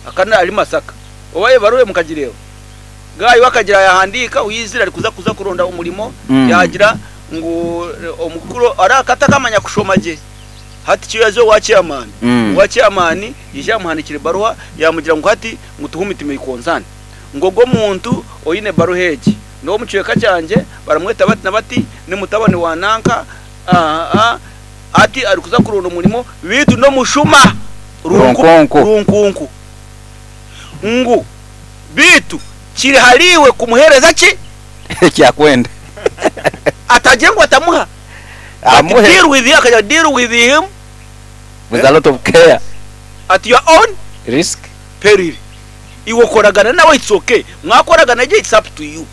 akaba ari Masaka oba ebaruha eyo mukagireeba? Guy we akagira yaahandiika owaizire arikuza kuza kuronda omurimo yaagira ngu omukuru araka atakamanya kushoma gye hati kyo yaaza owa chairman, owa chairman yaija yaamuhandiikira ebaruha yaamugira ngu hati ngu to whom it may concern. Ngu ogwo omuntu oine ebaruha egi n'ow'omu kicweka kyangye, baramweta bati na bati, ni mutabani wa nanka, hati arikuza kuronda omurimo beitu n'omushuma Runkunku. Runkunku. Ngu beitu kiri hariiwe kumuheereza ki? Eki akwenda. Atagire ngu atamuha. But Amuhe. deal with him, akagira deal with him With a lot of care. at your own Risk. peril. Iwe okoragana nawe it's okay, mwakoragana gye it's up to you.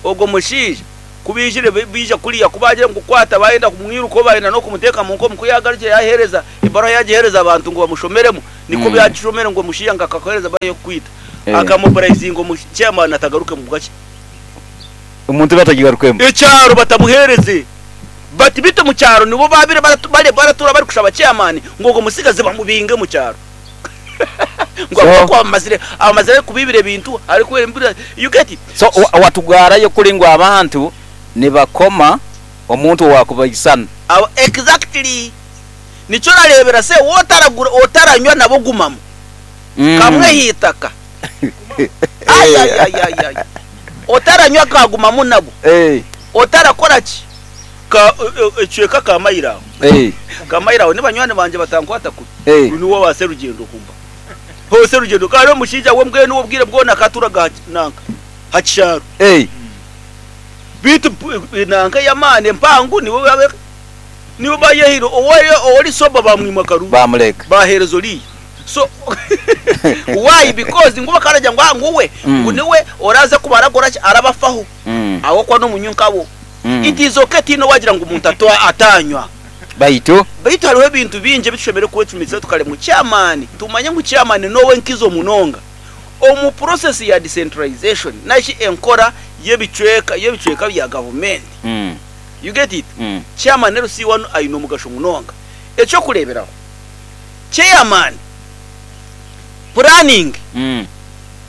Ogwo mushaija ku baijire baija kuriya ku baagira ngu kwata baayenda kumwirukaho baayenda n'okumuteeka mu nkomo ku yaagarukire yaaheereza ebaruha yaagiheereza abantu ngu bamushomeremu nikwo yaagishomere ngu omushaija ngu akakuheereza ebaruha y'okukwita akamobilizinga omu chairman atagaruke mu bwaki. Omuntu batagigarukemu. Ekyaro batamuheereze bati beitu omu kyaro nibo baabaire baratuura barikushaba chairman ngu ogwo mutsigazi bamubinge omu kyaro. Ngu ahabw'okuba abamazire abamazire arikubiibira ebintu arikubeera embura you get it? So watugwarayo kuri ngu abantu nibakoma omuntu owakubaisana. Abo exactly nikyo orareebera se wotaragura otaranywa nabo gumamu kamwe aheitaka ayayayayay otaranywa kagumamu nabo otarakoraki Ka ekicweka ka mailo aho. Ka mailo aho ni banywani bangye batankwata kubi. Niwe owa Serugendo kumba. Ho Serugendo ka hariho omushaija we mbwenu we obwire bwona akaturaga aha nanka aha kishaaro. Beitu nanka ey'amaani empangu niwe niwe bayehaire owori sober bamwima akaruru. Bamureka. Baheereza oriya. So why because ngu bakaragira ngu ngu we ngu niwe oraze kuba arakora ki arabafaho. Ahabw'okuba n'omunywi nkabo. It is okay tihaine owagira ngu omuntu atanywa. Baitu. Baitu hariho ebintu bingi ebi tushemereire kwecumitiriza tukareba ngu chairman, tumanye ngu chairman n'owenkizo munonga omu process ya decentralization nari enkora y'ebicweka y'ebicweka bya gavumenti. You get it? Chairman LC1 aine omugasho munonga. Eky'okureeberaho, chairman planning,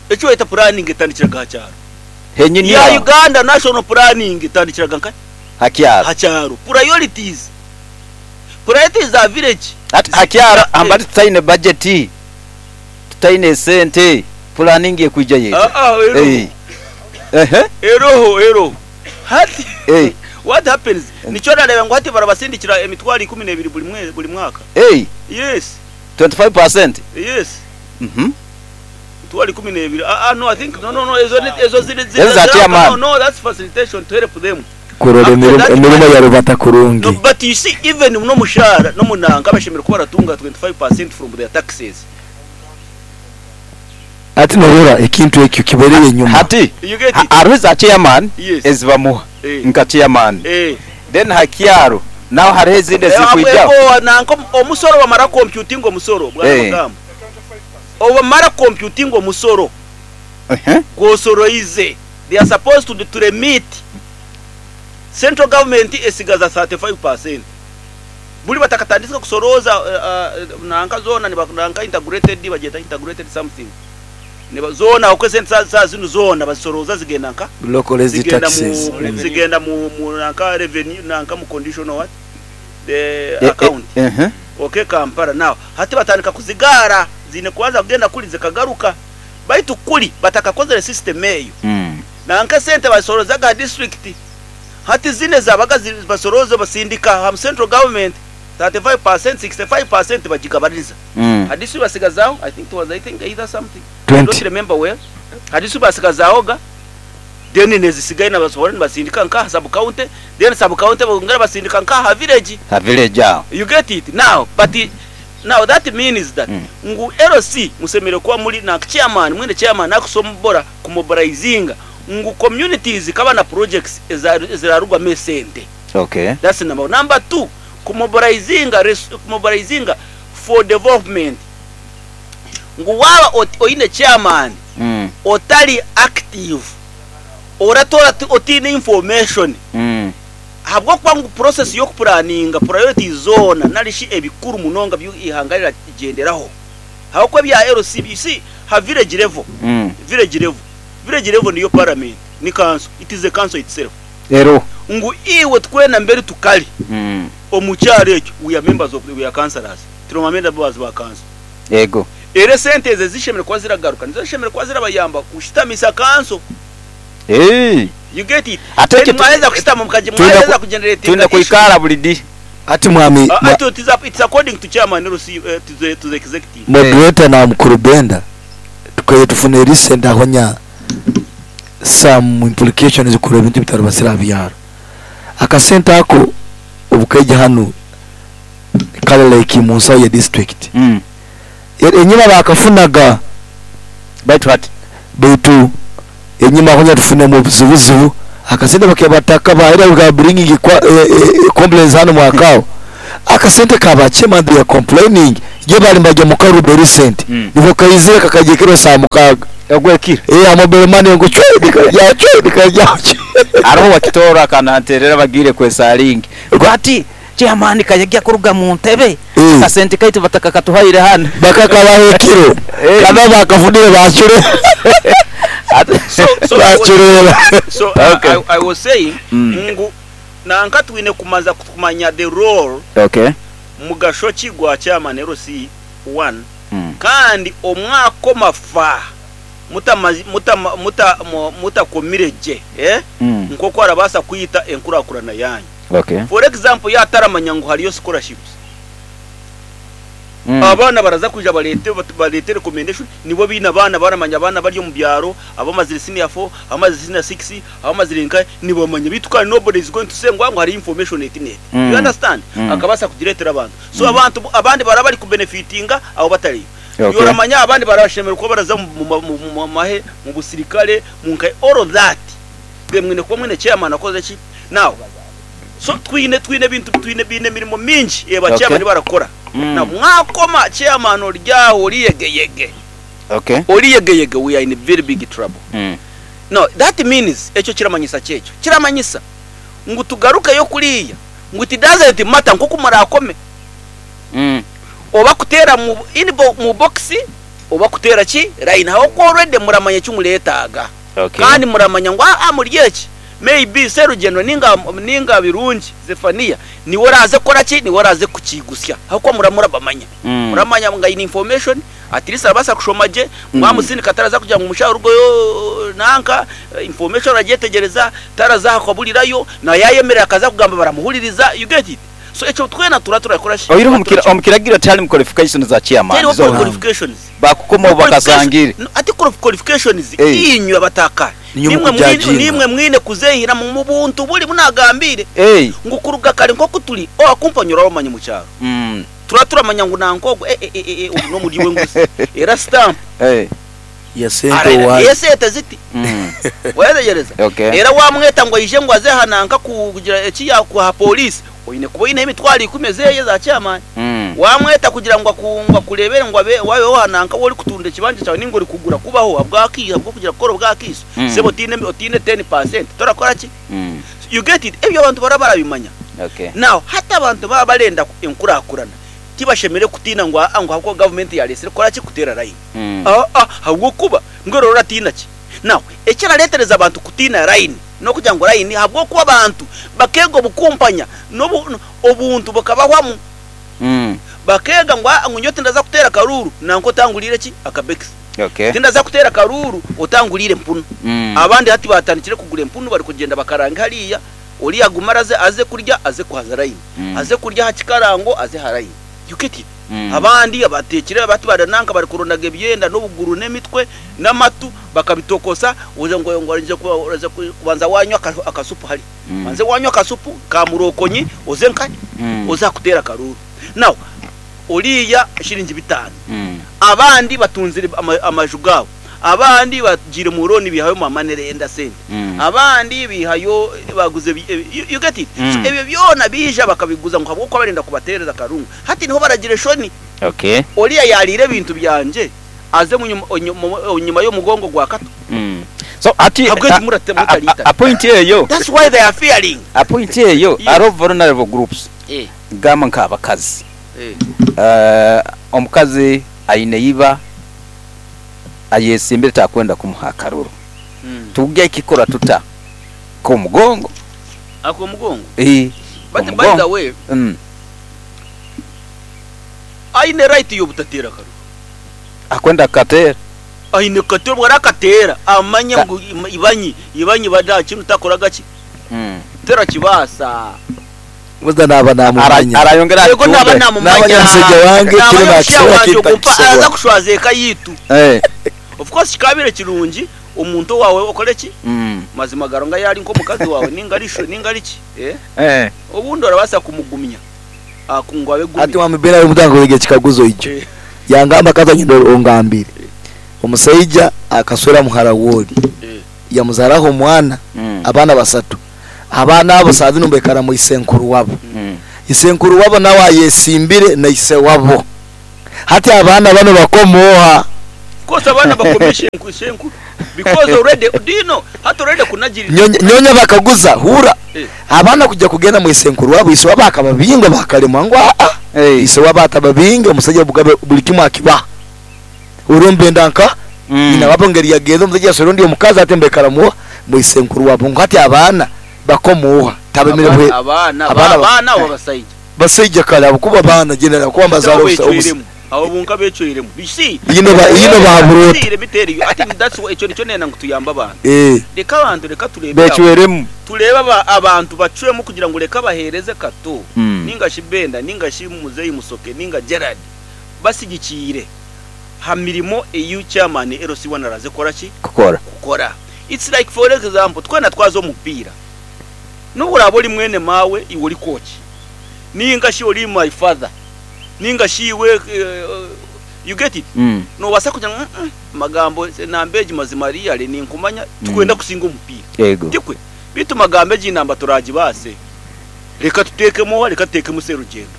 eki bayeta planning etandikiraga aha kyaro. Henyini Ya aho. Uganda National Planning etandikiraga nkahi? Ha kyaro. Ha kyaro. Priorities. Priorities za village. Hati ha kyaro hambali tutaine budget, tutaine esente, planning ekwija yeta. Ah ah eroho. Ehe. Eroho eroho. Hati Eh. what happens nikyo orareeba ngu hati barabasindikira emitwaro ikumi nebiri buri mwe buri mwaka. Ei. Yes. 25%? Yes. Mhm. Emitwaro 12 ah ah no I think no no no ezo ni ezo ziri Ezo za ziri no chairman. no that's facilitation to help them. Kurora After emirimo that emirimo money ya rubata no kurungi. but you see even n'omushaara n'omunanka bashemereire kuba baratunga 25% from their taxes. Hati norora ekintu ekyo kibereyo enyuma. Hati You get it? hariho eza chairman Yes. ezibamuha Eh. nka chairman Eh. then ha kyaro naho hariho ezindi Eh, ezikwijaho. abo nanka omusoro bamara computinga omusoro bwana Eh. Magambo. Obamara computinga omusoro gwosoroize they are supposed to, to remit central government esigaza 35% buri batakatandika kusorooza nanka zoona niba nanka integrated bagyeta integrated something niba zoona okwo esente za za zinu zoona bazisorooza zigenda nka Localized zigenda taxes. mu zigenda mu, mu nanka revenue nanka mu conditional what the Eh, account eh, ehe. Okay Kampala now hati batandika kuzigaara ziine kubanza kugenda kuri zikagaruka baitu kuri batakakozire system eyo nanka esente bazisorozaga aha district hati zinu ezabaga basorooza basindika aha central government 35% 65% bagigabaniza aha district basigazaho I think it was I think either something I don't 20. remember well aha district basigazaho ga then nezisigaye nibasohora nibasindika nkaha sub county then sub county bongera basindika nkaha village Ha village aho. You get it now but now that means that ngu LC musemereire kuba muri na chairman mwine chairman akusombora kumobilizinga ngu communities zikaba na projects ezirarugwamu esente. Okay. That's number one. Number two, kumobilizinga kumobilizinga for development ngu waaba oine chairman otari active oratoora otiine information ahabw'okuba ngu process y'okupuraninga priorities zoona nari shi ebikuru munonga bi eihanga riragyenderaho ahabw'okuba ebya LC you see ha village level village level village level niyo parliament ni council it is a council itself Ero. ngu iwe twena mberi tukari omu kyaro ekyo we are members of we are councillors turi ba members ba council Ego. Era esente ezo ezishemereire kuba ziragaruka nizo zishemereire kuba zirabayamba kushitamisa kanso. Eeh. You get it? Ate Then ekyo mwaheza kushitama mukaji twine mwaheza ku kugeneratinga twine issue. kwikara buri di. Hati mwami Ah, mwa ati it is up, it's according to chairman LC, eh, to the, to the executive. moderator na mukuru Benda tukaire tufune recent ahonya some implications kureba ebintu ebitarabasire aha byaro. Akasente ako obukaija hanu kare like munsaho ya district. Enyima bakafunaga. Baitu hati. Baitu enyima aho tufunemu obuzibuzibu, akasente bakebataka ba era we are bringing complaints hano mwaka aho. Akasente ka ba chairman they are complaining yo bali nibajya mu karuru the recent nibwo kaizire kakaija ekiro saa mukaaga. Ogw'ekiro? Eh, ha mobile money ngu cwe nikaija cwe nikaija cwe. Haroho owakitooro akananterera bagiire kwesalingi ngu hati Chairman kayagya kuruga mu ntebe akasente kaitu batakakatuhaire hanu. Bakakabaha ekiro kandi abu baakafunire baacureera. Baacureera. So I was saying ngu nanka twine kumanza kumanya the role, mugasho ki gwa chairman LC one kandi omwaka omafa mutakomire gye nk'oku arabaasa kwita enkurakurana yanyu. For example yaataramanya ngu hariyo scholarships, abaana baraza kwija bareete bareete recommendation nibo baine abaana baramanya abaana abari omu byaro abamazire senior four, abamazire senior six, abamazire nkahi nibamanya beitu kandi nobody is going to say ngu hariyo information eti n'eti. You understand? Akabaasa kugireetera abantu. So abantu abandi baraba bari kubenefitinga abo batariyo. Oramanya abandi barabashemererwa kuba baraza mu mahe, mu busirikare, mu nkahi all of that then mwine kuba mwine chairman akoze ki? Now so twine twine ebintu twine biine emirimo mingi eba chairman barakora. Now mwakoma chairman ori aho ori yegeyege. Ori yegeyege we are in very big trouble. Now that means ekyo kiramanyisa ki ekyo? Kiramanyisa ngu tugarukeyo kuriya ngu it doesn't matter nkoku murakome. Oba kuteera mu in mu box oba kuteera ki line ahabw'okuba already muramanya eki mureetaaga. Kandi muramanya ngu aa muri eki may be Serugendo ninga ninga Birungi Zephania niwe oraaze kukora ki niwe oraaze kukiigutsya ahabw'okuba muraba murabamanya. Muramanya ngu aine information at least arabaasa kushoma gye mwamusindika taraza kugira ngu omushaho arugeyo nanka information aragyetegyereza taraza aha kaburirayo na yaayemerera akaza kugamba baramuhuririza you get it? So ekyo twena tura turakora shi? Oihireho omu kiragiro tiharimu qualifications za chairman Tihariho zoona. qualifications. Baakukoma obu bakasangire. No, ati qualifications Eh. inywe abataka Niinywe nimwe mwine mukujajinga. nimwe mwine kuzehiramu mu buntu buri bunagambiire Eh. ngu kuruga kare nkoku turi owakumpanya orabamanya omu kyaro. Tura turamanya ngu nanka ogu eh eh eh eh ogu n'omuryi w'enguzi era stamp. Eh. Ya sente Ara owaayo. esente ziti. Wayetegyereza? Okay. Era wamweta ngu aije ngu aze aha nanka kugira eki yakuha aha police, oine kuba oineho emitwaro ikumi ezeye eza chairman. Wamweta kugira ngu aku ngu akureebere ngu abe wabeho aha nanka waaba orikutunda ekibanja kyawe ninga orikugura kubaho ahabw'aki ahabw'okugira kukora obwakaiso, sebo otiine otiine ten percent torakora ki? You get it? Ebyo abantu baraba barabimanya. Okay. Now hati abantu baaba barenda enkurakurana, tibashemereire kutiina ngu aa ngu ahabw'okuba gavumenti yareetsire kukora ki? Kuteera layini. Aa ahabw'okuba mbwenu ora oratiina ki? Now ekirareetereza abantu kutiina layini n'okugira ngu layini ahabw'okuba abantu bakeega obukumpanya n'obu obuntu bukabahwamu. Bakeega ngu aa ngu nyowe tindaza kuteera akaruuru nanka otanguriire ki? Akabekisi. Tindaza kuteera akaruuru otanguriire empunu. Abandi hati baatandikire kugura empunu barikugyenda bakarange hariya. Oriya agume araze aze kurya aze kuhaza line. Aze kurya aha kikarango aze aha line. You get it? Abandi abatekire bati bari nanka bari kurondaga ebyenda n'obuguru n'emitwe n'amatu bakabitokosa oze ngu ngu oraija kuba oraza kubanza wanywa akasupu hari. Obanze wanywa akasupu ka murokonyi oze nkahi? Oze aha kuteera akaruuru. Now oriya shiringi bitaano. Abandi batunzire amaju gaabo. Abandi bagiire mu loan bihayo ma money lender sente. Abandi bihayo baguze you get it? So ebyo byona biija bakabiguza ngu habw'okuba barenda kubateereza akarungu. Hati niho baragira eshoni. Oriya yaariire ebintu byangye aze enyima y'omugongo gwa Kato. So hati Habweki mutariitana? A point eyo. That's why they are fearing. A point eyo hariho vulnerable groups gamba nk'abakazi. Omukazi aine iba ayesimbire takwenda kumuha akaruru. Tugya kikora tuta? K'omugongo. Ak'omugongo? Eeh, But by the k'omugongo. way, aine right y'obutateera karuru. Akwenda kukateera. Aine kukateera, obu arakateera amanye ngu ibanyi, ibanyi ba kinu takoraga ki? Terakibaasa. Buza naaba naamumanya. Arayongera Yego naaba agitumbe. naamumanya. Naamanya mushaija wange, Naamanya kinu omushaija naakisobora, wangye kinu ogu mpa takisobora. araza kushwaza eka yaitu. Of course kikaabaire kirungi omuntu owaawe okore ki? Mazima ga Ruhanga yaaba ari nk'omukazi waawe ninga ari sho ninga ari ki, eh? Obundi orabaasa kumugumya ngu abe Hati gumire. Mwami Ben ari omuntu ankooreka ekikaguzo ekyo. Yangamba kaza nyine ongambire. Omusaija akaswera muhara w'ori yamuzaraho omwana, abaana basatu. Abaana abo saaha zinu nibaikara mwa isenkuru wabo. Isenkuru wabo nawe ayesimbire na ise wabo. Hati abaana banu bakoma oha? Of course abaana bakoma ishenkuru because already do you know hati already kunagirira. Nyonya bakaguza, hurra, abaana kujya kugenda mwa isenkuru wabo, ise wabo akababinga bakaremwa ngu aa, ise wabo atababinge, omusaija obugabe buli kimu akibaha. Orwo nibenda nka nyina wabo ngeri yagenze omusaija yaswera ondi omukazi hati nibaikara mwa isenkuru wabo ngu hati abaana bakoma oha? Tabemere bwe Abaana abaana abaana abo basaija. Basaija kare abo kuba baana general kuba Abo mbazaara obusa becweiremu abo bonka becweiremu you see Yino ba yino bahaburwa ota? Let me tell you I think that's why ekyo nikyo nenda ngu tuyambe abantu Eh. reka abantu reka turebere aho Becweremu. turebe aba abantu bacwemu kugira ngu reka bahereze Kato ninga shi Benda ninga shi Muzeyi Musoke ninga Gerald basigikiire ha mirimo eyi chairman LC1 araze kukora ki? Kukora. Kukora. It's like for example twena twaza omu mupiira nobu oraabe ori mwene maawe iwe ori coach ninga shi ori my father ninga shi iwe you get it? Nobaasa kugira ngu mm magambo enamba egi mazima really ninkumanya tikwenda kusinga omupiira. Yego. Tikwe? Beitu magambo egi namba turagibaase reka tuteekemu oha reka tuteekemu Serugendo.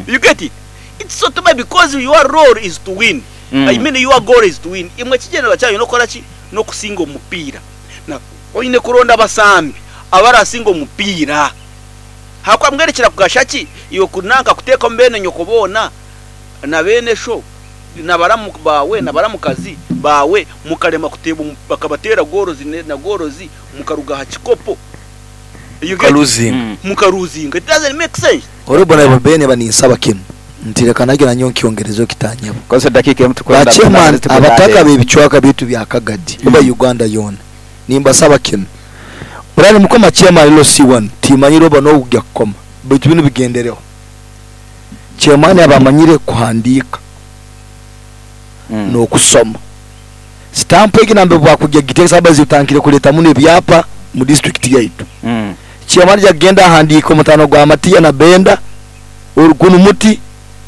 You get it? It's so too because your role is to win. I mean your goal is to win. Imwe ekigyendererwa kyanyu n'okukora ki? N'okusinga omupiira. Na oine kuronda abasambi abarasinga omupiira. Ahakuba mbwenu kirakugasha ki iwe kunanka kuteekamu beene nyoko boona na beene sho na baramu baawe na baramukazi baawe mukarema kuteeba bakabateera goorozi na goorozi mukaruga aha kikopo? You get it? Mukaruzinga. Mukaruzinga. It doesn't make sense. Ori bona bene baninsaba kinu nti reka nage nanyowe nkyongerezeho kitanyabo. Kozesa edakiika emu Ba tukwenda chairman tugende abataka aheeru. b'ebicwaka byaitu bya Kagadi oba Uganda yoona nimbasaba kinu Oraba nimukoma chairman LC1 timanyire oba nogya kukoma baitu binu bigendereho. Chairman aba amanyire kuhandiika n'okusoma. Sitampu egi nambere bwakugya kugiteekesa abazi butandikire kureeta muno ebyapa mu district yaitu. Chairman aija kugenda ahandiike omutaano gwa Matiya na Benda oru gunu muti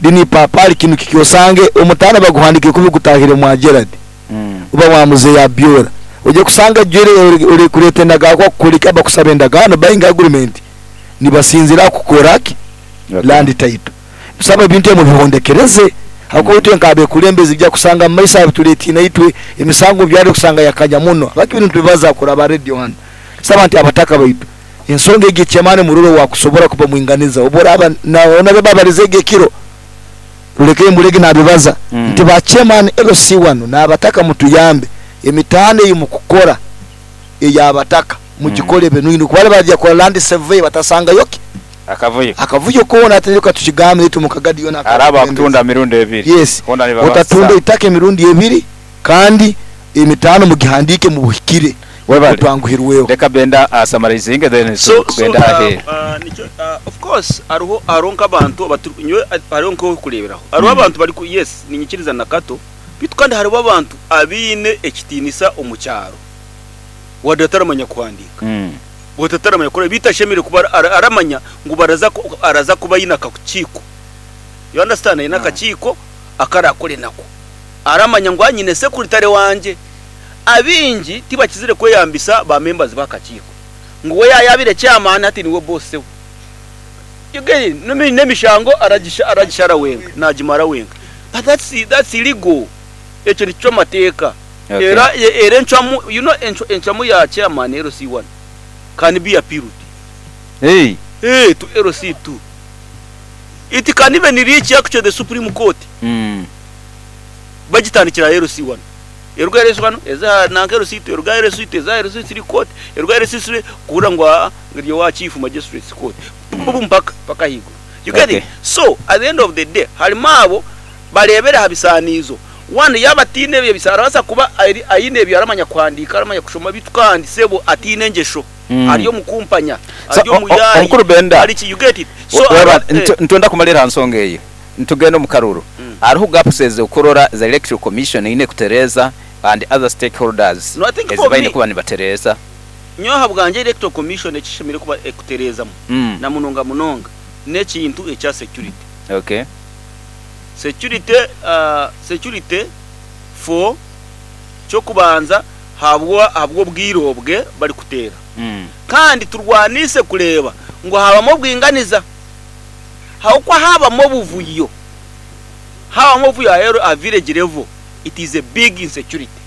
linu ipapali kinu kiki osange omutaano baguhandikire kubi gutahire mwa Gerald oba mwa Muzeeyi Abiola. Oija kusanga jwire ori kureeta endagaano kukureka bakusaba endagaano buying agreement nibasinzira aha kukora ki? Land title. Tusaba ebintu ebi mubihondekereze ahakuba itwe nk'abekulembezi bija kusanga mu maiso aha bitureetiine itwe emisango byari kusanga yakanya muno. Habwaki binu nitubibaza kuraba radio hanu. Tusaba nti abataka baitu ensonga egi ekyamaani murole owakusobora kuba mwinganiza obu oraaba na babarize egi ekiro ruleke mbulege nabibaza nti ba chairman LC1 n'abataka mutuyambe emitaano eyi mukukora ey'abataka mugikore ebe kuba bajya kukora land survey batasangayo ki? Akavuyo. Akavuyo koona ate reka tukigambe itwe mukagadi yona Araba akutunda emirundi ebiri. Yes. Hoona nibabaasa. Otatunda itaka emirundi ebiri kandi emitaano mugihandiike mubuhikire. Webale. Otwanguhirweho. Leka Benda asamarizinge then So, so, tugende aheeru. nikyo, of course hariho hariho nk'abantu abatu nyowe hariho nk'okureeberaho hariho abantu bari ku yes niinyikiriza na Kato beitu kandi hariho abantu abaine ekitiinisa omu kyaro wadde ataramanya kuhandiika wadde ataramanya kukora beitu ashemereire kuba aramanya ngu baraza araza kuba aine akakiiko you understand aine akakiiko aku arakore nako aramanya ngu nyine sekuritare wangye Abaingi tibakizire kweyambisa ba members b'akakiiko ngu we yaayabire chairman hati niwe boss we. You get it? N'emishango aragishara wenka, naagimara wenka. But that's, that's illegal. Ekyo nikicwa amateeka. Okay. Era, era encwamu, you know, encwamu ya chairman LC1 can be appealed. Hey. Hey, to LC2. It can even reach actually the Supreme Court. Bagitandikira aha LC1. Eruga aha LC1 eza aha nanka LC2, eruga aha LC2 eza aha LC3 court, eruga aha LC3 kuhurira ngu aa eri owa Chief Magistrates Court. Pupupu mpaka mpaka ahaiguru. You get Okay. it? So at the end of the day harimu abo bareebera aha bisaaniizo. One yaaba ataine ebyo bisaaniizo arabaasa kuba ari aine ebyo aramanya kuhandiika aramanya kushoma beitu kandi sebo ataine engyesho. Ari omu kumpanya, So, ari o- o- omuyaayi, omukuru Benda, ari ki, you get it? So Weba, aba, eh. nitwenda kumalira aha nsonga eyo nitugenda omu karuru. Hariho gaps ez'okurora za Electoral Commission eine kutereeza and other stakeholders No, I think ezi for baine me, kuba nibatereeza. Nyowe ahabwangye Electoral Commission eki eshemereire kuba ekutereezamu na munonga munonga n'ekintu ekya security. Okay. Security, security for Ky'okubanza habwa ahabw'obwire obwe barikuteera. Kandi turwanise kureeba ngu haabamu obwinganiza. Ahabw'okuba haabamu obuvuyo, haabamu obuvuyo aheeru aha village level, it is a big insecurity.